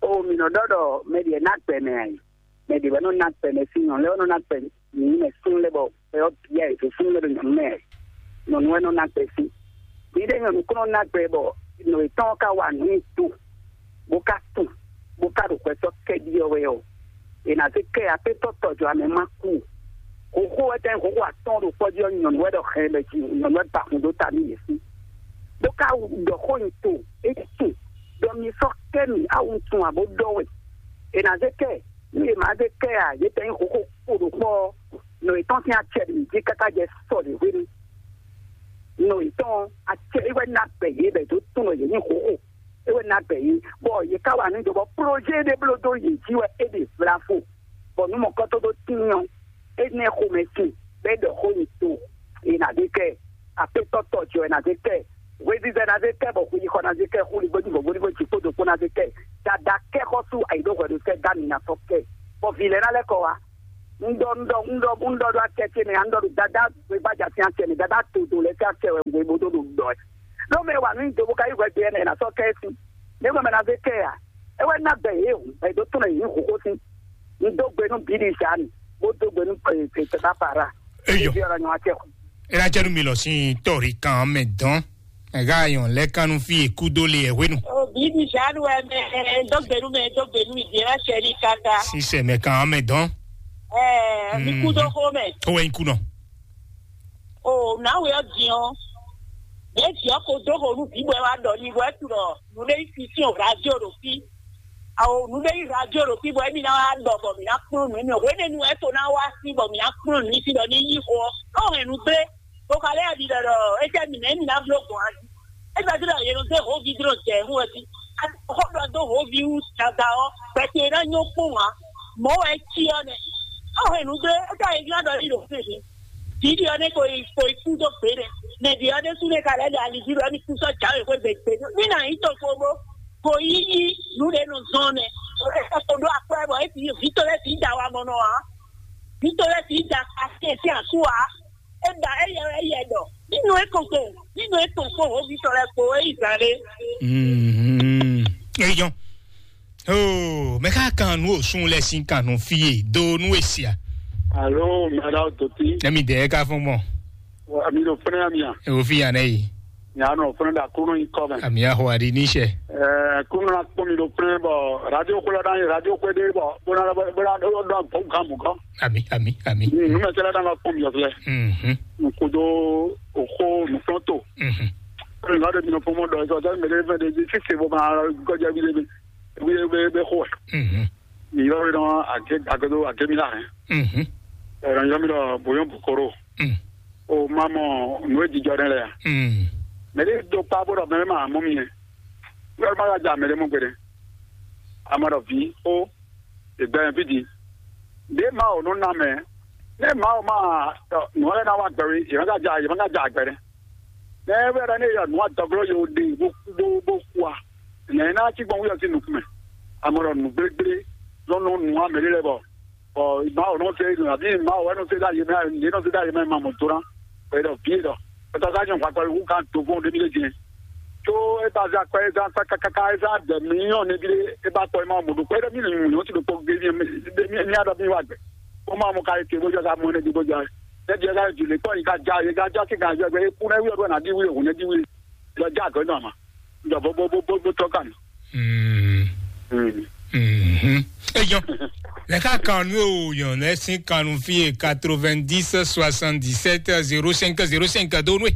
O mi nɔ dɔ dɔ mɛ diɛ na gbɛ mɛ ayi. Mɛ ɖě wɛ nɔ ná gbɛ mɛ sín nyɔ̌nu lɛ́ɛ wɛ nɔ ná gbɛ mǐ mɛ súnnu lɛ́ɛ bɔ xwe ɔ́ bia yě dó súnnu lɛ́ɛ ɖo nyɔ̌nu mɛ. Nyɔ̌nu wɛ nɔ ná gbɛ sín. Mǐɖée nyɔ̌nu kún nɔ ná gbɛ bɔ nɔ yětɔn ɔ́ ka wa nǔ nyi do, bó ka tun, bó ka ɖo xwɛ sɔ́ kɛ ɖi ɔ́ wɛ ɔ́, è nǎ zé kɛ akwétɔ́ tɔjɔamɛ ma kú. Hǒxo wɛ tɛ́ hǒxo atɔ́ɔ́n ɖo kpɔ́ jí ɔ́, nyɔ̌nu wɛ ɖɔ hɛn bɔ jí nyɔ̌nu wɛ ba hun dó ta nú yě sín. Bó ka ɖɔ xó nyi to, é tun, ɖɔ mi sɔ́ kɛ mì, awu tun abo ɖɔ wɛ. È nǎ zé kɛ Nú yě má zé kɛ ǎ, yě tɛ nyí hǒxo kpo ɖo kpɔ́ ɔ́, nɔ yětɔn sín acɛ ɖě jí káká jɛ sɔ ɖě hwenu. Nɔ yětɔn acɛ é wɛ ná bɛ yě bɛ dó tunwun ɖɔ yě nyí hǒxo, é wɛ ná bɛ yě, bɔ yě ká wa nǔ jɔ bɔ plɔ́jé ɖé bló dó yě jí wɛ é ɖe vlavo, bɔ nǔ mɔ̌kɔ́tɔ́ ɖó tíin ɔ́, énɛ́ xomɛ sin bɔ é ɖɔ xó nyi to, è nǎ zé kɛ ɛ. Akwétɔ́ tɔjɔ́ ɛ ná zé kɛ ɛ. Hwezizɛ ná zé kɛ ɛ, bɔ hweyixɔ ná zé kɛ ɛ, xúligbójú bɔ gbódúgbò jí kpódó kpó ná zé kɛ ɛ. Dada kɛ xɔ́sú ayǐɖóhwɛɖótɛ́ dá mi ná sɔ́ kɛ ɛ, bɔ vǐ lɛ́ɛ ná lɛ́ kɔ wá. Un ɖɔ un ɖɔ un ɖɔ un ɖɔ ɖo akɛ ce mɛ, un ɖɔ ɖo dada gbegbaja sín akɛ mɛ, dada to do lɛ sín akɛ wɛ un bó ɖo ɖo ɖɔ ɛ. Ɖó mɛ wa nú do bó ka yí hwɛ gbe ɛnɛ ná sɔ́ kɛ sí. Ní mɛ na zé kɛ ya. E wɛ na bɛ ye o, e do tɔn yi hugo sí. Un dó gbe nú bíɖi sani, bó dó gbe nú tata para. Eyɔ. Bí ọ̀rọ̀ yan akɛ. E na jẹ́ nu mi lọ sí tɔ̀rí kan mɛ dán. Ẹ̀gá ayọ̀n lẹ́kánu fi èkúdó lé ẹ̀wé nu. Òbí mi ṣàánú ẹ mẹ, dógbènú mẹ, dógbènú ìdí ẹ má ṣe ní káká. Sísè mẹ kan mẹ dán. Ẹ mi kú dó xó mẹ. Ó wẹ́ ń kú nọ. O náwó yọ diọ. Bẹ́ẹ̀ diọ kò dó xó nú bíbọ̀ ẹ wá dọ̀ ní wẹ́ tu lọ. Nú lé fi sí o radio ɖo fí. Awo nú lé yi radio ɖo fí bɔ emi ná wá dɔ bɔ mi ná kplɔ́n nú emi. Hwenɛ́nu ɛ to ná wá sí bɔ mi ná kplɔ́n nú sí ɖɔ ní yí xó ɔ. Ɔ hɛn nú gbé. Bó ka lɛ́ ɖi ɖɔ ɖɔ étɛ́ mǐ nɛ́ mǐ ná bló gbɔn a jí. É gbɛ́ dó ɖɔ yě nɔ dó hǒví dó jɛ hú wɛ jí. Xó ɖɔ dó hǒví wú dada ɔ́, gbɛtɔ́ e ná nyɔ́ kpɔ́n ǎ. Mɔ̌ wɛ é cí ɔ́ nɛ́. Ɔ́ hɛn nǔ gbé, é ka yě ná ɖɔ yí ɖo fínfín. Vǐ ɖi ɔ́ nɛ́ ko yi ko yi kú dó gbě nɛ́. Mɛ ɖi ɔ́ ɖésú nɛ́ ka lɛ́ ɖo ali jí ɖɔ émi kú sɔ́ jǎwe xwé gbe gbe. Mí ná nyí to kpóbó. Ko yí yí nǔ ɖě nɔ zɔn nɛ́. É ka ko ɖó akwɛ́ bɔ é fi vǐ to lɛ́ fi da wa mɔ nɔ ǎ. Vǐ to lɛ́ fi da ka sí ɛ sí asú ǎ. Eda eyɛ eyɛ dɔ. Nínú ekoko, nínú ekoko hobitɔ lɛ kpo eyi zan ɖe. Mhm. Eyɔn. Oh, mɛ ka kan nu osun lɛ sin kan nu fie do nu esia. Alo, mɛra doti. Nami de ka fún mɔ. Ami do fɛnɛ ami a. E wo fi yan nɛ yi. Nya nɔ fɛnɛ da kunu yi kɔ mɛ. Ami a ho adi ni sɛ. Eh, kunu na kpɔn mi do fɛnɛ bɔ radio kula da radio kwe de bɔ bona bona do do do kan mu kɔ. Ami, ami, ami. Numɛtɛlɛ ɖe ŋa kpɔn miɔ filɛ. Mhm. Nukudo oxo nukplɔnto. Mhm. Ŋa ɖe minɔ fɔmɔ dɔ ɛsɛ ɔtɛ mɛ ɖe fɛ ɖe di sise bɔ ma gɔdza bi ɖe bi bi bi bi xo. Mhm. Mi yɔ ɖe nɔ ake akedo ake mi la hɛn. Mhm. Ɛrɔ yɔ mi dɔ boyɔn bukoro. Mm. O ma mɔ nu e jijɔ ɖe lɛ ya. Mm. Mɛ ɖe do kpa bɔ dɔ mɛ ma mɔ mi yɛ. Yɔ ma ka ja mɛ ɖe mɔ gbeɖe. Amɔ dɔ vi o. Ìgbà yẹn fídí. Bí Mawu nɔ ná mɛ, ní Mawu má nù ɔ́ lɛ́ɛ ná wá gbɛ wí, yě má ka ja yě má ka ja àgbẹ̀ rẹ. Ní ẹ wíwá ní yɔ nǔ adɔglɔ́ yóò ɖe bó bó bó kú a, nɛ̌ ná cí gbɔn wíyɔ sín nukún mɛ? Amɔ ɖɔ nǔ gblégblé lɔ nɔ nǔ amɛ ɖé lɛ́ɛ bɔ bɔ Mawu nɔ fɛ nɔ àbí Mawu wɛ nɔ fɛ dá yé mɛ yé nɔ fɛ dá yé mɛ ma mɔ tó ná. Bɔ é ɖɔ vǐ é ɖɔ, é tɔ sá nyɔ hwakpɛ wú kan do fún ɖémi lé jɛ. Tó é ba zá kpɛ é zá kpɛ kákáká é zá dɛ mǐ nyɔ nɛbí lé é ba kpɔ é ma mɔ ɖo kpɛ é ɖɔ mí nɔ nyɔ tí ɖo kpɔ gé mí mí mí adɔ mí wá gbɛ. Ó ma mɔ ka é ké bó jɔ ká mɔ nɛbí bó jɔ. Nɛbí é ká jù lé kpɔ yìí ká já yé ká já sí ká jɔ gbɛ é kú nɛ wí ɔdún ná dí wí òhun nɛ dí wí. Lọ já àgọ́ náà mà. Jọ bó bó bó bó bó tọ́ kà mí. Mm. Mm. Mhm. Eyɔn. Lɛ ka kan nu o yɔn lɛ sin kan nu fi quatre-vingt-dix soixante-dix-sept zéro cinq zéro cinq do nu.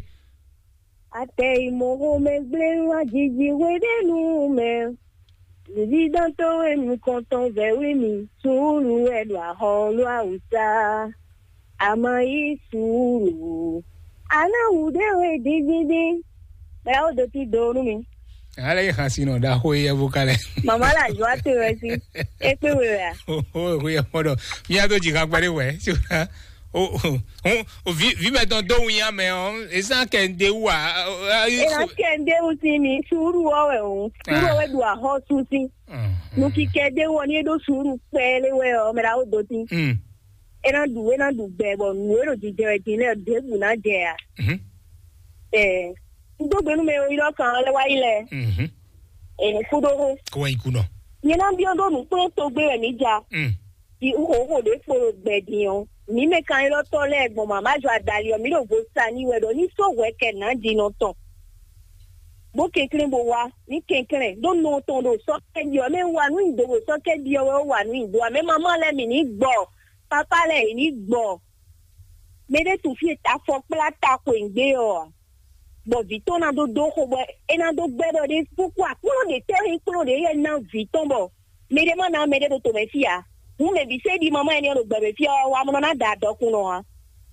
Atɛ imɔho mɛ gblé wá jiji hwe ɖe nu mɛ. Zizi dantɔ we nukɔntɔn vɛ we mi sùúrù wɛ ɖo ahɔ ló awusa. Ama yi sùúrù. Aláwù dé we dídídí. Bẹ́ẹ̀ ó do tí do nú mi. Ale yi xasi nɔ da xo yɛ bo kalɛ. Mama la jɔ ate wɛ si. E kpe we wɛ a? O o ko yɛ mɔ dɔ. Mi a do ji ka gbɛ de wɛ. Si o o o vi vi mɛ tɔn do wu ya mɛ o. Esa kɛ n de wu a. E na kɛ n de wu si mi sùúrù wɔ wɛ o. Sùúrù wɛ do ahɔ su si. Nukikɛ de wɔ ni e do sùúrù kpɛlɛ wɛ o mɛ la o do ti. Mm. E na ɖu e na ɖu gbɛ bɔ nǔ e ɖo jijɛ wɛ din lɛ ɖěbǔ ná jɛ a. Mhm. Ɛ n dó gbe nú mɛ e yi lɔ kan lɛ wá yi lɛ. Mhm. Ɛ kú ɖó hó. Kó wá yi kú nɔ. Nyɛ ná biɔ ɖó nǔkplɔ́n togbe wɛ mǐ ja. Mm. Di xóxó ɖě kpo ɖo gbɛ din ɔ́, mǐ mɛ kan élɔ́ tɔ́ lɛ́ɛ gbɔn mǎmá jɔ adali ɔ́, mǐ ɖo vo sa n'i wɛ ɖɔ ní sɔ́ hwɛ kɛ nǎ din nɔ tɔn. Bó kɛnklɛ́n bó wá, ní kɛnklɛ́n ɖó nɔ tɔn ɖo sɔ́ kɛ ɖi ɔ́, mɛ wa nǔ nyi do ɖo sɔ́ kɛ ɖi ɔ́ wɛ ó wa nǔ nyi do ǎ. Mɛ mamá lɛ́ɛ mǐ ní gbɔ, papá lɛ́ɛ yě ní gbɔ. Mɛ ɖé tunwun fí e afɔ kplá ta xweyǐgbe ɔ́ ǎ. Bɔ vǐ tɔn ná dó dó xo bɔ é ná dó gbɛ́ ɖɔ ɖé kpókpó aklúnɔ ɖě tɛ́ nyí kplɔ́n ɖě yɛ ná vǐ tɔn bɔ mɛ ɖé má ná mɛ ɖé ɖo tomɛ fí ǎ. Hǔn mɛ bǐ sɛ́ ɖi mamá ɛnɛ ɖo gbɛmɛ fí ɔ́ wá mɔ ná da dɔkunnɔ ǎ.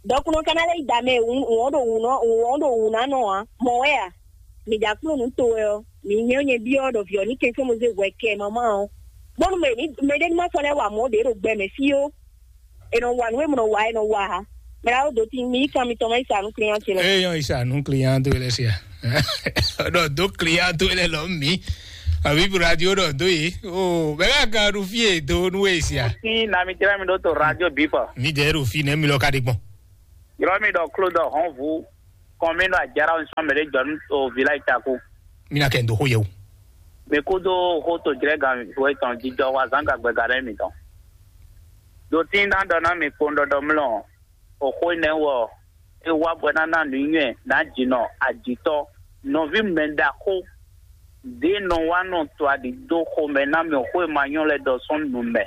Dɔkunnɔ ka ná lɛ́ yi da mɛ wǔn wǔn ɖo wǔ nɔ wǔn ɖo wǔ ná nɔ ǎ. Mɔ̌ wɛ a? Mǐ ɖo aklúnɔ nǔ to wɛ ɔ́, mǐ nyɛ nyɛ byɔ́ ɖɔ vǐ ɔ́ ní kɛnklɛ́n mo zé hwɛ kɛ mamá ɔ́. Bónú mɛ ní mɛ ɖé ní má sɔ́ lɛ́ wa mɔ̌ ɖě ɖo gbɛmɛ fí ó. E nɔ wa nǔ e mɔ nɔ wa e nɔ wa ha. Mɛ la wo do ti mi kan mi tɔn ma yi sa nu client ti lɛ. Eyɔn isa nu client to lɛ sia. Ɖɔ do client to lɛ lɔ mi. Avibu radio ɖɔ dó yi. O bɛɛ ka ɖu fí e do nú e sia. Sin na mi jra mi ɖo to radio bipa. Mi dɛ ɖo fí nɛ mi lɔ ka ɖe gbɔn. Yɔrɔ mi ɖɔ klo ɖɔ hɔn vu kɔn mi ɖɔ ajara o sɔn mɛ ɖe jɔ nu o vila itaku. Mi na kɛ ndo xo yɛ o. Mi kudo xo to jrɛ gan vo etɔn jijɔ wa zan gagbɛ ga ɖe mi tɔn. Do tin na ɖɔ na mi kpɔn ɖɔɖɔ mlɔ. Oxó énɛ́ wɛ ɔ́, é wá bɔ é ná ná nǔnywɛ́ nǎjínɔ ajǐtɔ́, nɔví mɛ ɖaxó ɖě nɔ wá nɔ to aɖǐ dó xomɛ ná mɛ xó e ma nyɔ́ lɛ́ɛ ɖɔ sɔ́ nu mɛ.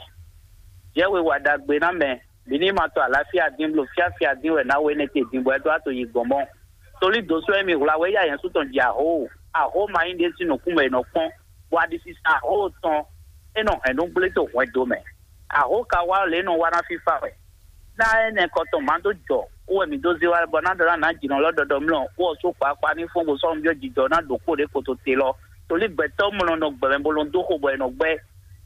Jɛ́ we wa ɖagbe ná mɛ, bǐ ní ma to aláfíà dín bló fíáfíá dín wɛ ná we énɛ́ te din bɔ é ɖó ato yi gbɔn mɔ́. Tolí dǒsú e mi hwlá wɛ yá nyɛ̌ sú tɔn ji ahó, ahó ma nyí ɖě sín nǔkún mɛ è nɔ kpɔ́n, bɔ aɖisisa ahó tɔn é nɔ hɛn nú gblé to hwɛndo mɛ. Ahó ka wá lě nɔ wá ná fífá wɛ. Ná énɛ́ kɔ tɔn má dó jɔ, wú wɛ mǐ dó zé wá bɔ ná ɖɔ ná nǎ jǐnɔ lɔ ɖɔɖɔ mlɔ, wú ɔ sú kpakpa ní fɔ́n bó sɔ́ nú byɔ́ jijɔ ná ɖo kpó ɖě kpoto te lɔ. Tolí gbɛtɔ́ mlɔ nɔ gbɛmɛ bó lɔn dó xo bɔ è nɔ gbɛ́,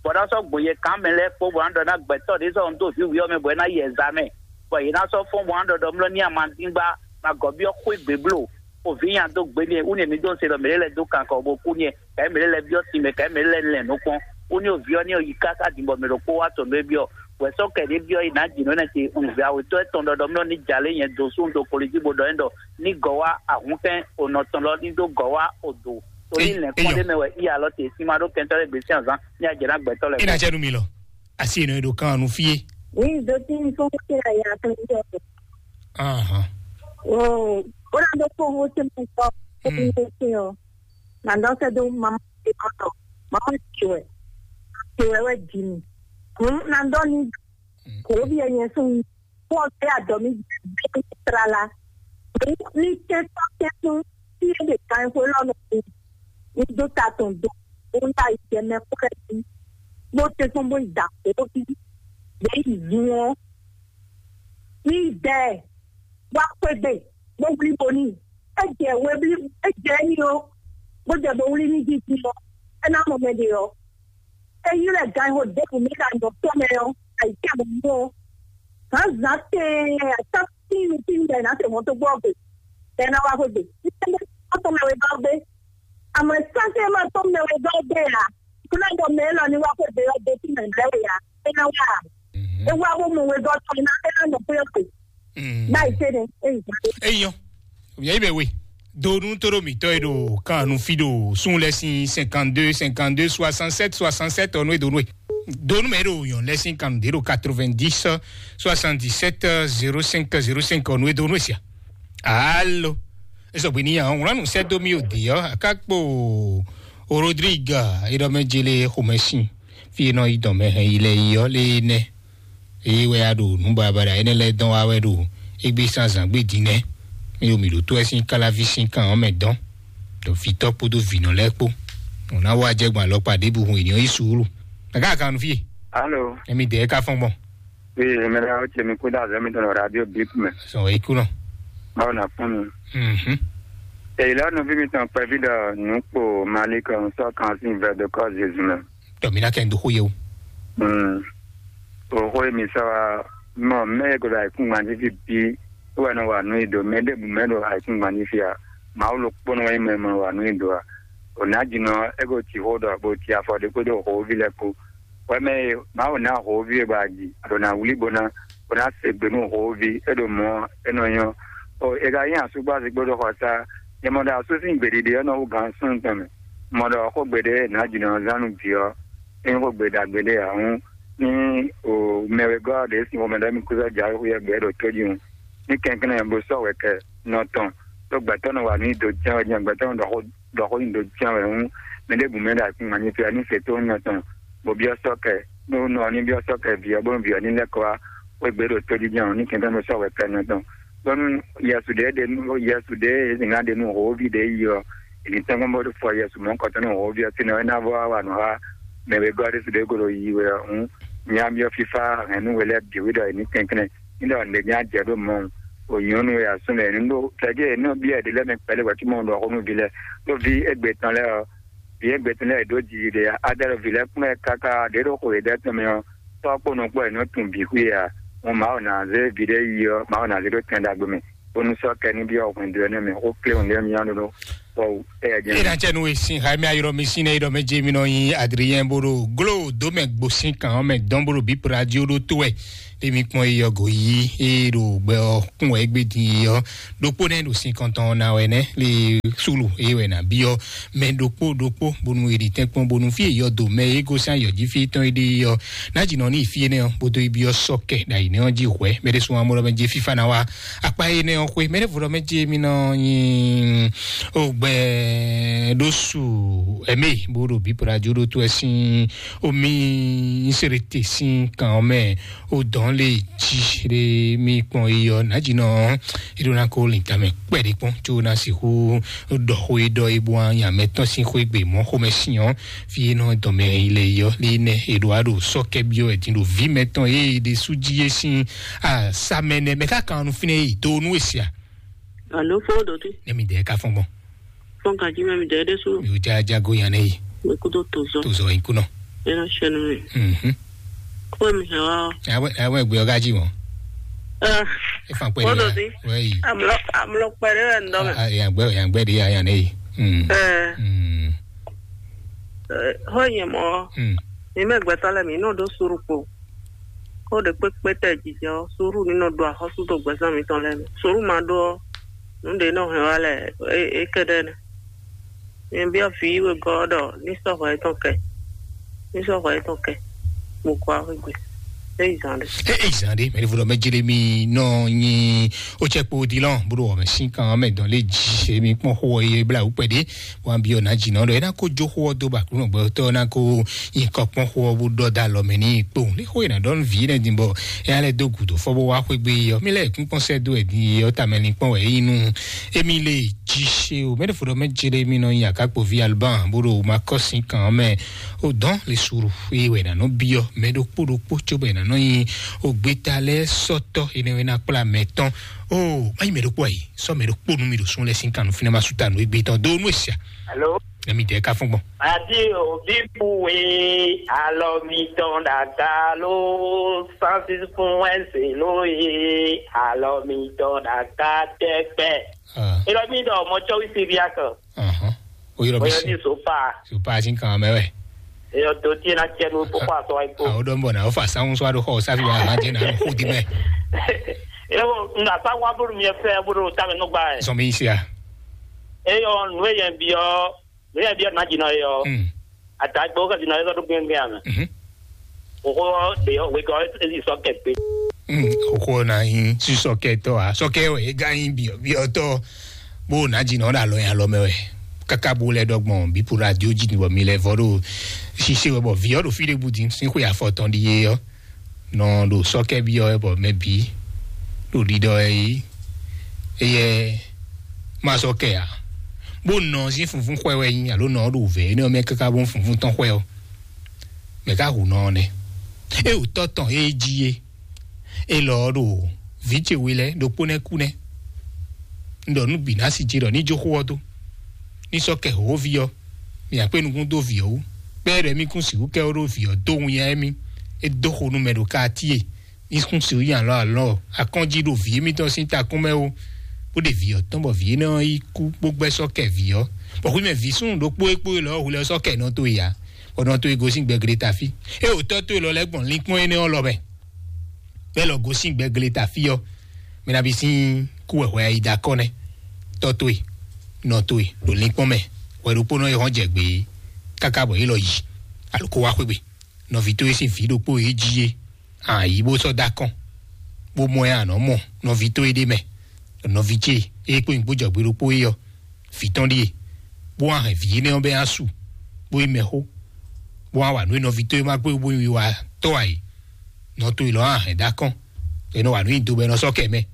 bɔ ná sɔ́ gbɔn yɛ kán mɛ lɛ́ɛ kpó bɔ ná ɖɔ ná gbɛtɔ́ ɖě sɔ́ dó vǐ wǐ ɔ́ mɛ bɔ é ná yɛ za mɛ, bɔ yě ná sɔ́ fɔ́n bɔ ná ɖɔɖɔ mlɔ ní amandíngba, ná gɔ̌ byɔ́ xwé gbě bló, o vǐ nya dó gbe n'i wú ni mǐ dó se ɖɔ mǐ lɛ́ lɛ́ dó kankɔ bó kú n'i, kɛ̌ mǐ lɛ́ lɛ́ byɔ́ sin mɛ, kɛ̌ mǐ lɛ́ lɛ́ lɛ̌n nukɔn, wú ni o vǐ ɔ́ ní o yi káká din bɔ mǐ ɖokpó wá tɔn nú é byɔ́, wɛ sɔ́ kɛ̌ ɖé byɔ́ yi nǎ jǐ nǔ énɛ́ ce un vǐ awětɔ́ étɔn ɖɔɖɔ mlɔ́ ní jalé nyɛ dó sú un dó kolojí bó ɖɔ é ɖɔ ní gɔ̌ wá ahǔnkɛ́n o nɔ tɔn lɔ ní dó gɔ̌ wá o dǒ. Torí Ei, lɛ̌nkpɔ́n eyɔ. Ɖé mɛ wɛ í alɔ te sín ma ɖó kɛntɔ́ lɛ́ɛ gbě sín azán ní ajɛ ná gbɛtɔ́ lɛ́ɛ. Ina jɛ nu mi lɔ. Asi eno edo kan nu fie. Oui, do tin fún kí la ya tó ń jọ. Ahan. Oh, ó rà dó kó owó tí mo sọ ó ní ṣe ṣe ọ. Nà dán sẹ́ dó mamá ṣe kọ́tọ̀. Mamá ṣe wẹ̀. Ṣe wẹ̀ wẹ̀ jì mí. Hùn nà dán ní kò ó bí ẹyẹ sún mi. Fún ọ̀sẹ̀ àjọ mi bí tlala. Ní tẹ́tọ́ tẹ́tún tí ẹ lè ka ẹ̀kọ́ lọ́nà mi. Ní dó ta tòun dó. Ó ń ta ìjẹmẹ kúrẹ́ sí. Bó tẹ́tún bó ìdàpọ̀ bí. Bẹ́ẹ̀ ìlú wọn. Ní ìdẹ́ wá pé gbè. Bó wuli bo ní. Ẹ jẹ wé bí ẹ jẹ ní o. Bó jẹ bo wuli ní jíjí o. Ẹ ná mọ̀ mẹ́ de o. Eyi lɛ gan ho ɖěbǔ mɛ ɖo anyɔ tɔn mɛ ɔ́, ayǐ tɛ bɔ mɔ. Hǎn zǎn tɛɛ atá tínu tínu ɖe nǎ te mɔ tó gbɔ gbe. Tɛ ná wá xwé gbe. Ní tɛ mɛ tɔn mɛ wɛ gɔ́ gbé. Àmọ́ sáké ma tɔn mɛ wɛ gɔ́ gbé a. Kúnlẹ̀ bɔ mɛ lɔ ní wá xwé gbe ɔ́ dé tí mɛ lɛ wɛ a. É ná wá. É wá bó mɔ wɛ gɔ́ tɔn ná é ná nɔ xwé ɔ́ gbe. Báyìí tẹ́ ni é yìí gbà. Eyɔn. Yɛ bɛ we. Donu toro mitɔ e ɖo kan nu fi ɖo sun lɛ sin cinquante-deux cinquante-deux soixante-sept soixante-sept ɔnu e donu e. Donu mɛ ɖo yɔn lɛ sin kan ɖe ɖo quatre-vingt-dix soixante-dix-sept zéro cinq zéro cinq ɔnu e donu e sia. Alo. Esɔ gbe ni yan ŋlɔ nu sɛ do mi o de yɔ akakpo Rodrigue e ɖɔ mɛ jele xomɛ sin. Fi e nɔ yi dɔn mɛ hɛn yi lɛ yi ɔ le nɛ. Eye wɛ a ɖo nǔ baɖabaɖa énɛ́ lɛ́ɛ dɔn wá wɛ ɖo égbé sín azǎn gbe din nɛ́. Mì ɖo mǐ ɖo tó wɛ sín káláví sín kan ɔ́ mɛ dɔn, ɖo vǐtɔ́ kpódó vǐnɔ lɛ́ɛ kpó. Nǔ ná wá jɛ gbɔn alɔkpa ɖěbǔ hun ènìyàn yí suúlu. Nàká kan nu fí e? Alo. Emi dɛɛ ka fɔn gbɔn. Wi mɛ ɖe awo ce mi kú dá azɔ mi tɔn ɖo radio bip mɛ. Sɔn wɛ ikú nɔ. Báwo na fún mi? Mhm. Èyí lọ́nà bí mi tàn pẹ́ bí dọ̀ nù pò Mali kan sọ kan sí ìfẹ́ dọ́kọ́ Jésù náà. Tɔmina kɛ n do xó ye o. Mm. O xó ye mi sɔ wa mɔ mɛ ye ko da ikun gban títí bí wɛ nɔ wa nú ido mɛ ɖe bu mɛ ɖo ikun gban títí a ma wo lo kpɔnɔ wɛ mɛ mɔ wa nú ido a o na dzi nɔ e ko ti xó dɔ bo ti afɔ ɖe kpódó xó vi lɛ kpó wɛ mɛ ye ma wo na xó vi ye ba dzi a ɖo na wuli bo na bo na se gbe nú xó vi e ɖo mɔ e nɔ nyɔ o e ka nyi asúgbó asi kpódó xɔ sa e mɔ ɖo asú sín gbeɖiɖi ɔ́ nɔ wú gan sún tɔn mɛ. Mɔ ɖɔ xógbe ɖé nǎjínɔ zán nú vǐ ɔ́, é nyí xógbe ɖagbe ɖé ǎ hǔn, ní o mɛ wegɔ́ ɔ́ ɖě sín xomɛ ɖɔ émí kúsɔ jǎwe xwíyɛ́ gbɛ ɖo tójí hǔn, ní kɛnklɛ́n bó sɔ́ wɛ̌kɛ nɔ tɔn, ɖó gbɛ̌tɔ́ nɔ wa nǔ nyi do cyán wɛ, jɛ́n gbɛ̌tɔ́ nɔ ɖɔ xó ɖɔ xó nyi do cyán wɛ hǔn, mɛ ɖěbǔ mɛ ɖo ayǐkúngban ní fí ɔ́ ní se tó nyɔ tɔn, bó byɔ́ sɔ́ kɛ, nú nɔ ɔ́ ní byɔ́ sɔ́ kɛ vǐ ɔ́, bónú vǐ ɔ́ ní lɛ́ kɔ wá xwé gbě ɖo tójí jɛ́n ɔ́, ní kɛnklɛ́n bó sɔ́ wɛ̌kɛ nɔ tɔn. Bónú Yesu ɖě ɖe nú Yesu ɖě e zǐngán ɖe nú hǒví ɖě yi ɔ́, è nǐ tɛ́nkpɔ́n bó fɔ Yesu mɔ̌hunkɔtɔn nú hǒví ɔ́ tínɔ é ná vɔ wá wa nǔ xá mɛ wegɔ́ ɖésú ɖě ko ɖo yiyi wɛ ɔ́ hǔn, nya byɔ́ fífá hɛ̌nnu we lɛ́ɛ bǐ wú ɖɔ è nǐ kɛnklɛ́n ní ɖɔ nǔɖé nya jɛ ɖó mɔ̌ o nyɔ̌nu e asú lɛ́ɛ nǔ ɖó kɛjɛ è nɔ byɔ́ è ɖě lɛ́ɛ mɛ kpɛɖé hwɛ̌ cóbɔ un ɖɔ xó nú vǐ lɛ́ɛ ɖó ví égbé tɔn lɛ́ɛ ɔ́, vǐ égbé tɔn lɛ́ɛ è ɖǒ jiji ɖe ǎ, adɛ́ ɖo vǐ lɛ́ɛ kplɔ́n ɛ káká ɖě ɖo xo yěɖɛ́ tɔn mɛ ɔ́, tɔ́ kpó nɔ kpó è nɔ tunwun bǐ xwí ǎ. Hǔn Mawu ná zé vǐ ɖé yi ɔ́, Mawu ná zé ɖó tɛn ɖagbe mɛ, bónú sɔ́ kɛ ní byɔ́ hwɛndo énɛ́ mɛ xó kléwún lɛ́ɛ myá ɖó ɖó. Eye na cɛ nu e sin xa mi ayɔrɔ mi sin ne ɖɔ mɛ je mi nɔ nyi Adrien bolo glo do mɛ gbo sin kan mɛ dɔn bolo bi radio ɖo to wɛ. Ɖe mi kpɔn eyɔ go yi eye ɖo gbɛ ɔ kún wɛ egbe din yi ɔ ɖokpó nɛ ɖo sin kɔntɔn na wɛ nɛ le sulu eye wɛ na bi ɔ mɛ ɖokpó ɖokpó bonu eɖi tɛn kpɔn bonu fi eyɔ do mɛ ego sin ayɔ ji fi tɔn eɖi yi ɔ na dzi nɔ ni fi enɛ ɔ bodo ibi ɔ sɔ kɛ ɖa yi nɛ ɔ ji hwɛ mɛ ɖe sun amɔ ɖɔ mɛ je fifa na wa akpa enɛ ɔ xwe mɛ ɖe vo ɖɔ mɛ je mi nɔ nyi o gbɛ ɖo su ɛmɛ bo ɖo bi pradzo ɖo to ɛ sin o mi sere te sin kan ɔ mɛ o dɔn le ji ɖe mi kpɔn yi ɔ na dzi nɔ e ɖo na ko lin tamɛ kpɛ ɖe kpɔn tso na sixu ɖɔ xo e ɖɔ e bo nya mɛ tɔn sin xo e gbe mɔ xomɛ sin ɔ fi e nɔ dɔn mɛ yi le yi ɔ le nɛ e ɖo a ɖo sɔ kɛ biɔ ɛ din ɖo vi mɛ tɔn e ɖe su ji e sin a sa mɛ nɛ mɛ ka kan nu fine yi do nu e sia. Alo, fo ɖo te. Ne mi dɛ ka fɔn gbɔn. Fɔn ka ji mɛ mi dɛ ɖe so. Mi o ja ja go yan ne yi. Mi kudo to zɔ. To zɔ yi kunɔ. E na sɛ nu mi. Mhm. Ko mi hɛ wa. Awe awe gbe o ka ji mo. Ah. E fan pɛ. Fo ɖo te. Wɛ yi. Amlɔ amlɔ pɛ ɖe wɛ ndɔ mɛ. Ah, ya gbɛ ya gbɛ de ya ya ne yi. Mm. Eh. Mm. Eh, ho nyɛ mɔ. Mm. Mi mɛ gbɛtɔ lɛ mi nɔ ɖo suru kpo. Ko ɖe kpékpé tɛ jijɛ ɔ, suru ní nɔ ɖo axɔ́sú dó gbɛzán mitɔn lɛ́ɛ mɛ. Suru ma ɖó ɔ́, nǔ ɖě nɔ hɛn wá lɛ é é kɛ ɖɛ́ nɛ. Mi byɔ́ vǐ wegɔ́ ɔ́ ɖɔ ní sɔ́ hwɛ yětɔn kɛ, ní sɔ́ hwɛ yětɔn kɛ, bó kó axwé gbe. É yi zán ɖé. É é zán ɖé mɛ ɖěvo ɖɔ mɛ Jeremi nɔ nyi ó cɛ kpo dilɔn bó ɖo wɔmɛ sín kan mɛ dɔn lé jí èmi kpɔn xó ɔ́ yé bla wú kpɛɖé wan byɔ́ ná jǐ nɔ ɖɔ é ná kó jó xó ɔ́ dó ba kúnɔ gbɛtɔ́ ná kó nyi kɔ kpɔn xó ɔ́ bó ɖɔ dó alɔ mɛ n'i kpowun lé xó e ná ɖɔ nú vǐ énɛ́ din bɔ é ná lɛ́ dó gǔdo fɔ bó wá xwé gbé yi ɔ́ mí lɛ́ kún kpɔ́n sɛ́ dó wɛ din yi ɔ́ tamɛ linkpɔ́n wɛ é nyí nú émí lé jí sé o mɛ ɖěvo ɖɔ mɛ jé ɖé mí nɔ nyi akákpoví alban bó ɖo makɔ́sin kan ɔ́ mɛ o dɔn le suru é wɛ ná nɔ byɔ́ mɛ ɖokpó ɖokpó cóbɔ è nǎ nɔ nyi ògbéta lɛ́ɛ sɔ́tɔ́ énɛ́ é ná kplá mɛ tɔn o má nyí mɛ ɖokpó ayi sɔ́ mɛ ɖokpó nú mi ɖo sún lɛ́ɛ sín kan nú fínɛ́ má sú ta nú égbé tɔn dó nú èsì a. Alo. Nɛ mi dɛ ka fún gbɔn. Adi obi bu e alɔ mi tɔn ɖaga lo sansis fún ɛsɛ lo e alɔ mi tɔn ɖaga tɛkpɛ. Elɔ mi dɔ mɔ tsɔwi siriya kan. Ahɔn. O yɔrɔ mi Oyɔ si. Ni so pa. So pa si kan mɛ wɛ. Eyɔ do tie na tiɛ nu kpokpɔ asɔ wa ikpo. Awo dɔn bɔ na o fa sanwó sɔ aɖo xɔ o safi wa hàn jẹ na nu xo di mɛ. Ewo nga sa wa bolo mi fɛ bolo ta mɛ nugba ɛ. Sɔmi sia. Eyɔ nu eyɛ bi ɔ nu eyɛ bi ɔ na dzi nɔ eyɔ. Atagbe wo ka dzi nɔ eyɔ do gbɛngbɛn amɛ. Xoxo ɖe ɔ wegɔ ezi sɔ kɛ gbe. Xoxo na nyi si sɔkɛtɔ a sɔkɛ wɛ e ga nyi biɔ biɔtɔ bó na dzi nɔ ɖe alɔ nyi alɔ mɛ wɛ kaka bó lɛ ɖɔ gbɔn bipu radio dzi bɔ mi lɛ vɔ ɖo sise wɛ bɔ viɔ ɖo fi ɖe bu din sin xwe afɔtɔn ɖi ye ɔ nɔ ɖo sɔkɛ biɔ wɛ bɔ mɛ bi ɖo ɖiɖɔ wɛ yi eyɛ ma sɔkɛ a bó nɔ sin funfun xwɛ wɛ nyi alo nɔ ɖo vɛ ne ɔmɛ kaka bó funfun tɔn xwɛ ɔ mɛ ka hu nɔ nɛ e wò tɔ tɔn e dzi ye e lɔ ɖo vǐ ce we lɛ ɖokpó nɛ kú nɛ un ɖɔ nú bǐ ná si ce ɖɔ ní jó xó ɔ́ dó ní sɔ́ kɛ hǒví ɔ́ mì akpé nukún dó vǐ ɔ́ wú bɛ́ ɖɔ émí kún sixú kɛ ɔ́ ɖó vǐ ɔ́ dó winnyá émí é dó xo nú mɛ ɖo katíe ní kún sixú nyi alɔ alɔ akɔ́njí ɖo vǐ émítɔn sín takún mɛ ó bó ɖe vǐ ɔ́ tɔn bɔ vǐ énɛ́ ɔ́ yi kú bó gbɛ́ sɔ́ kɛ vǐ ɔ́ bɔ xwimɛ vǐ súnnu ɖokpó e kpó e lɔ ɔ́ hu lɛ sɔ́ kɛ nɔ tó ya bɔ nɔ tó e gosín gbɛgble ta fí é wò tɔ́ tó e lɔ lɛ́ gbɔn linkpɔ́n énɛ́ ɔ́ lɔ mɛ bɛ́ lɔ gosín gbɛgble ta fí ɔ́ mɛ ná bí sín kú wɛ hwɛ yi da kɔ́ nɛ́ tɔ́ tó e nɔ tó e ɖo linkpɔ́n mɛ hwɛ ɖokpónɔ e hɔn jɛ gbě káká bɔ yě lɔ yi alo kó wá xwé gbe nɔví tó e sín vǐ ɖokpó e jí é a yǐ bó sɔ́ dó akɔ́n bó mɔ ɛ a nɔ̌ mɔ nɔví tó e ɖ'é mɛ nɔví ce e kpó nyǐkpó jɔ̌gbé ɖokpó é ɔ́ vǐ tɔn ɖíe bó wá hɛn vǐ énɛ́ ɔ́ bɛ́ ná su bó yi mɛxó bó wá wa nǔ e nɔví tó e ma kpé bó yi wa tɔ́ ǎ é nɔ tó e lɔ̌ wá hɛn dó akɔ́n è nɔ wa nǔ nyi do bɔ è nɔ sɔ́ kɛ mɛ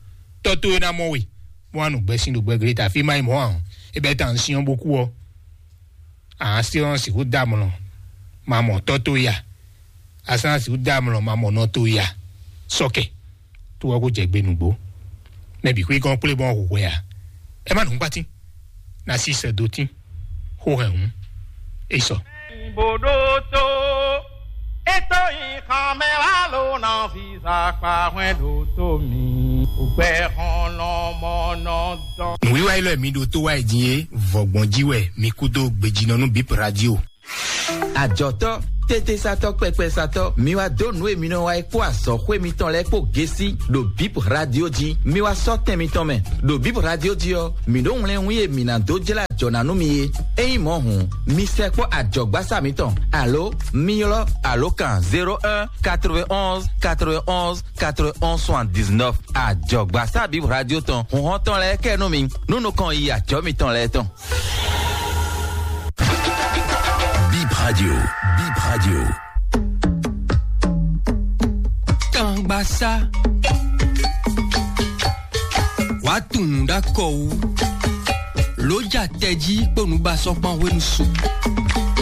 tɔ́ tó e ná mɔ we bó wá nu gbɛsin ɖo gbɛgble ta fí má yi mɔ̌ ǎ é bɛ́ ta un syɔ́n bó kú ɔ́ a sɔ́ sixú dó amlɔ ma mɔ tɔ́ tó ya a sɔ́ sixú dó amlɔ ma mɔ nɔ tó ya sɔ́ kɛ tó ɔ́ kó jɛ gbe nǔgbó mɛ bǐ xwé gɔ́n kplé bɔn hu hwɛ ǎ ɛ má nǔgbátín ná sí sɛ dó tín xó hɛn hǔn é sɔ. Ìbò ɖó tó, é tó nyi xɔmɛ wá ló ná fi zàkpá hwɛn ɖó tó mi. Gbɛhɔnlɔmɔnɔdɔn. Nǔwiwa élɔ́ e mi ɖo tó wá yi din é, vɔ̌gbɔn jí wɛ mi kú dó gbejínɔ nú Bip Radio. Ajɔ̌tɔ́, tétésatɔ́, kpɛkpɛsatɔ́, mi wá dó nǔ e mi nɔ wa é kpó azɔ̌xwé mitɔn lɛ́ɛ kpó gésí ɖo Bip Radio jí. Mi wá sɔ́ tɛn mitɔn mɛ. Ɖo Bip Radio jí ɔ́, mǐ ɖó wlɛ́nwún e mǐ ná dó jlá jɔ̌ ná nú mi é. Ényí mɔ̌ hǔn, mi sɛkpɔ́ ajɔ̌gbásá mitɔn, alo mi ylɔ́ alǒkan zéro un quatre-vingt-onze quatre-vingt-onze quatre-vingt-onze soixante-dix-neuf. Ajɔ̌gbásá Bip Radio tɔn, hǔnhɔ́n tɔn lɛ́ɛ kɛ nú mi, nú nukɔn yi ajɔ̌ mitɔn lɛ́ɛ tɔn. Bip Radio, Bip Radio. Kangbaxá. Wàá tunwun ɖó akɔ wú. Lǒ ja tɛjí kpó nǔbasɔ́kpan hwenu su.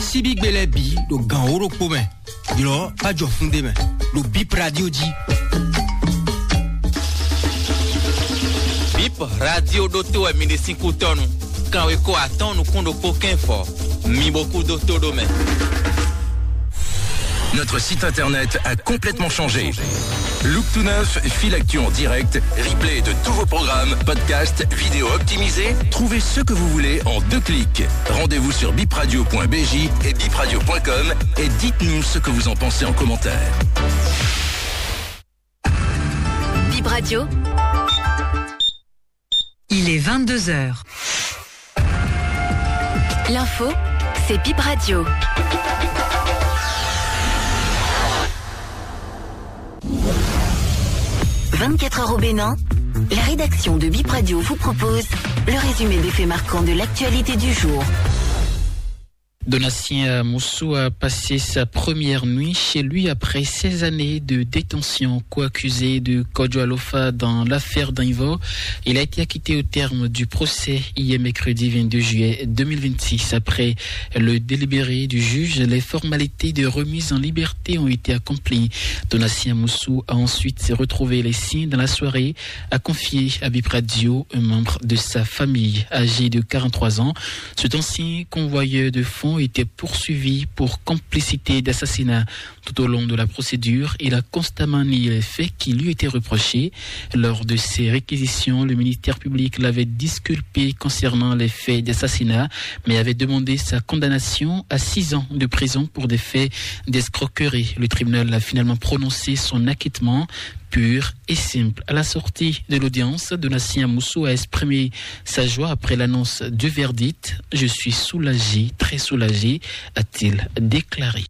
Síbígbe lɛ́ɛ bǐ ɖo gǎn wǒ ɖokpó mɛ. Ylɔ̌ bá jɔ fún ɖé mɛ ɖo Bip Radio jí. Bip Radio ɖótó wɛ mi ɖe sín kútɔ́nu. Kanwekó atɔ́ɔ́n nukún ɖokpó kɛ́nfɔ. Mi bo kú dó tó ɖó mɛ. Notre site internet a complètement changé. Look tout neuf, fil actu en direct, replay de tous vos programmes, podcasts, vidéos optimisées. Trouvez ce que vous voulez en deux clics. Rendez-vous sur bipradio point b j et bipradio point com et dites-nous ce que vous en pensez en commentaire. Bip Radio. Il est vingt-deux heures. L'info, c'est Bip Radio. Vingt-quatre heures au Bénin, la rédaction de Bip Radio vous propose le résumé des faits marquants de l'actualité du jour. Donatien Moussou a passé sa première nuit chez lui après seize années de détention. Co-accusé de Kodjo Alofa dans l'affaire Danivor, il a été acquitté au terme du procès hier mercredi vingt-deux juillet deux mille vingt-six. Après le délibéré du juge, les formalités de remise en liberté ont été accomplies. Donatien Moussou a ensuite retrouvé les siens dans la soirée, a confié à Bip Radio un membre de sa famille. Âgé de quarante-trois ans, cet ancien convoyeur de fonds était poursuivi pour complicité d'assassinat. Tout au long de la procédure, il a constamment nié les faits qui lui étaient reprochés. Lors de ces réquisitions, le ministère public l'avait disculpé concernant les faits d'assassinat, mais avait demandé sa condamnation à six ans de prison pour des faits d'escroquerie. Le tribunal a finalement prononcé son acquittement pur et simple. À la sortie de l'audience, Donatien Moussou a exprimé sa joie après l'annonce du verdict. « Je suis soulagé, très soulagé », a-t-il déclaré.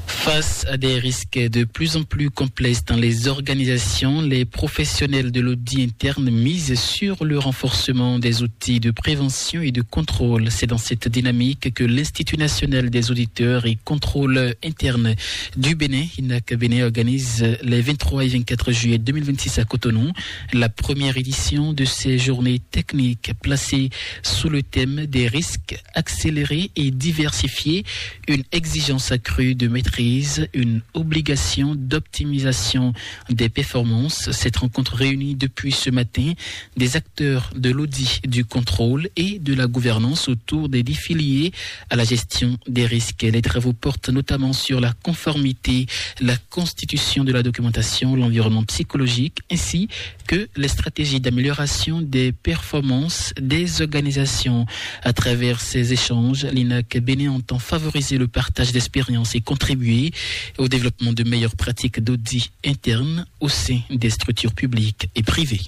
Face à des risques de plus en plus complexes dans les organisations, les professionnels de l'audit interne misent sur le renforcement des outils de prévention et de contrôle. C'est dans cette dynamique que l'Institut national des auditeurs et contrôleurs internes du Bénin, INAC Bénin, organise les vingt-trois et vingt-quatre juillet deux mille vingt-six à Cotonou la première édition de ces journées techniques placées sous le thème des risques accélérés et diversifiés, une exigence accrue de maîtrise, une obligation d'optimisation des performances. Cette rencontre réunit depuis ce matin des acteurs de l'audit, du contrôle et de la gouvernance autour des défis liés à la gestion des risques. Les travaux portent notamment sur la conformité, la constitution de la documentation, l'environnement psychologique, ainsi que les stratégies d'amélioration des performances des organisations. À travers ces échanges, l'INAC Bénin entend favoriser le partage d'expériences et contribuer au développement de meilleures pratiques d'audit interne au sein des structures publiques et privées.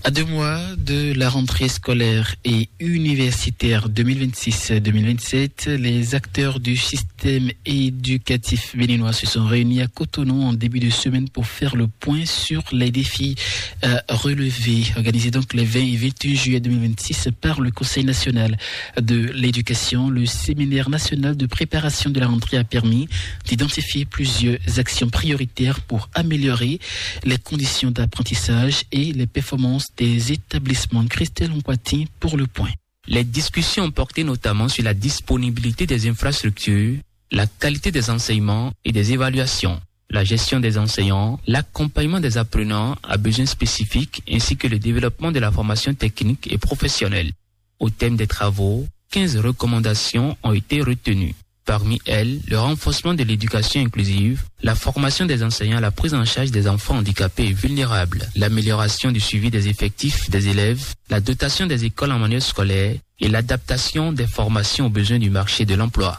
À deux mois de la rentrée scolaire et universitaire deux mille vingt-six deux mille vingt-sept, les acteurs du système éducatif béninois se sont réunis à Cotonou en début de semaine pour faire le point sur les défis à relever. Organisé donc les vingt et vingt et un juillet deux mille vingt-six par le Conseil national de l'éducation, le séminaire national de préparation de la rentrée a permis d'identifier plusieurs actions prioritaires pour améliorer les conditions d'apprentissage et les performances des établissements. Christelle Nkwati pour le point. Les discussions ont porté notamment sur la disponibilité des infrastructures, la qualité des enseignements et des évaluations, la gestion des enseignants, l'accompagnement des apprenants à besoins spécifiques ainsi que le développement de la formation technique et professionnelle. Au thème des travaux, quinze recommandations ont été retenues. Parmi elles, le renforcement de l'éducation inclusive, la formation des enseignants à la prise en charge des enfants handicapés et vulnérables, l'amélioration du suivi des effectifs des élèves, la dotation des écoles en manuel scolaire et l'adaptation des formations aux besoins du marché de l'emploi.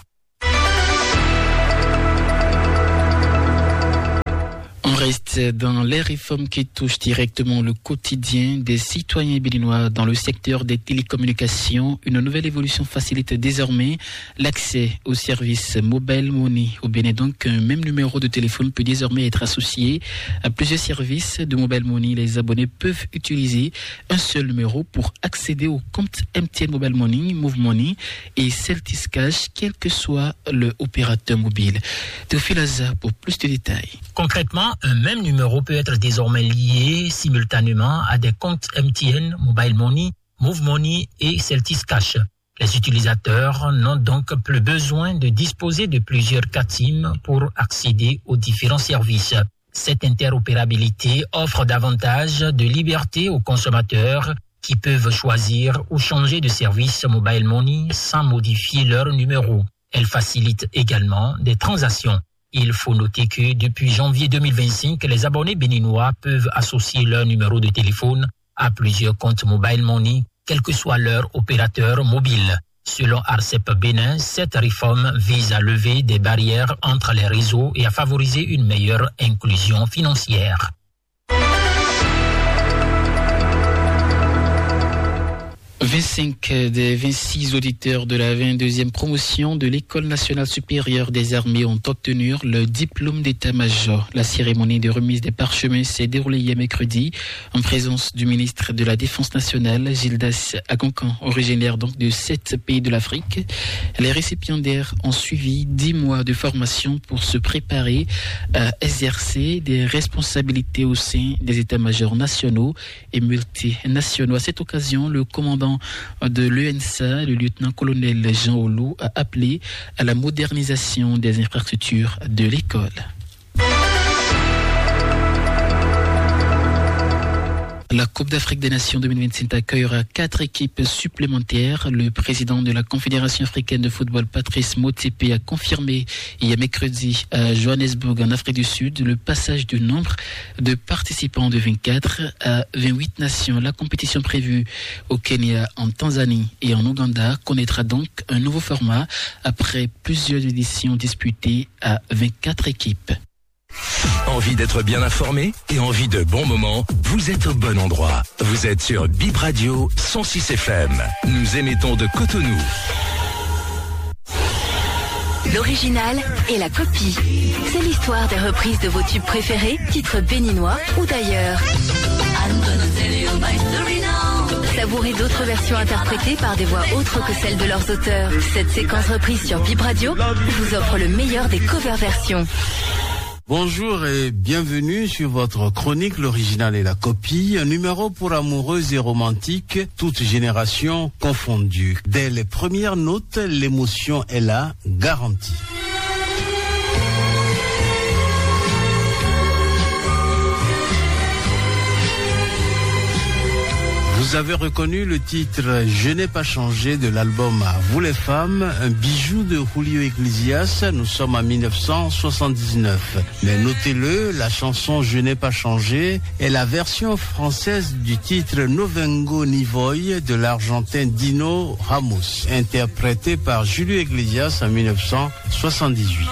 On reste dans les réformes qui touchent directement le quotidien des citoyens béninois dans le secteur des télécommunications. Une nouvelle évolution facilite désormais l'accès au service mobile money au Bénin. Donc, un même numéro de téléphone peut désormais être associé à plusieurs services de mobile money. Les abonnés peuvent utiliser un seul numéro pour accéder au compte M T N Mobile Money, Move Money et Celtis Cash, quel que soit le opérateur mobile. Théophile Aza pour plus de détails. Concrètement, un même numéro peut être désormais lié simultanément à des comptes M T N, Mobile Money, Move Money et Celtis Cash. Les utilisateurs n'ont donc plus besoin de disposer de plusieurs CATIM pour accéder aux différents services. Cette interopérabilité offre davantage de liberté aux consommateurs qui peuvent choisir ou changer de service Mobile Money sans modifier leur numéro. Elle facilite également des transactions. Il faut noter que depuis janvier deux mille vingt-cinq, les abonnés béninois peuvent associer leur numéro de téléphone à plusieurs comptes Mobile Money, quel que soit leur opérateur mobile. Selon ARCEP Bénin, cette réforme vise à lever des barrières entre les réseaux et à favoriser une meilleure inclusion financière. Vingt-cinq des vingt-six auditeurs de la vingt-deuxième promotion de l'École nationale supérieure des armées ont obtenu le diplôme d'état-major. La cérémonie de remise des parchemins s'est déroulée hier mercredi en présence du ministre de la Défense nationale, Gildas Akonkan, originaire donc de sept pays de l'Afrique. Les récipiendaires ont suivi dix mois de formation pour se préparer à exercer des responsabilités au sein des états-majors nationaux et multinationaux. À cette occasion, le commandant de l'E N S A, le lieutenant-colonel Jean Olou, a appelé à la modernisation des infrastructures de l'école. La Coupe d'Afrique des Nations deux mille vingt-cinq accueillera quatre équipes supplémentaires. Le président de la Confédération africaine de football, Patrice Motsepe, a confirmé hier mercredi à Johannesburg, en Afrique du Sud, le passage du nombre de participants de vingt-quatre à vingt-huit nations. La compétition prévue au Kenya, en Tanzanie et en Ouganda connaîtra donc un nouveau format après plusieurs éditions disputées à vingt-quatre équipes. Envie d'être bien informé et envie de bons moments ? Vous êtes au bon endroit. Vous êtes sur Bip Radio cent six F M. Nous émettons de Cotonou. L'original et la copie. C'est l'histoire des reprises de vos tubes préférés, titres béninois ou d'ailleurs. Savourez d'autres versions interprétées par des voix autres que celles de leurs auteurs. Cette séquence reprise sur Bip Radio vous offre le meilleur des cover versions. Bonjour et bienvenue sur votre chronique, l'original et la copie, un numéro pour amoureux et romantiques, toutes générations confondues. Dès les premières notes, l'émotion est là, garantie. Vous avez reconnu le titre Je n'ai pas changé de l'album À vous les femmes, un bijou de Julio Iglesias. Nous sommes en mille neuf cent soixante-dix-neuf. Mais notez-le, la chanson Je n'ai pas changé est la version française du titre No Vengo Ni Voy de l'Argentin Dino Ramos, interprété par Julio Iglesias en mille neuf cent soixante-dix-huit.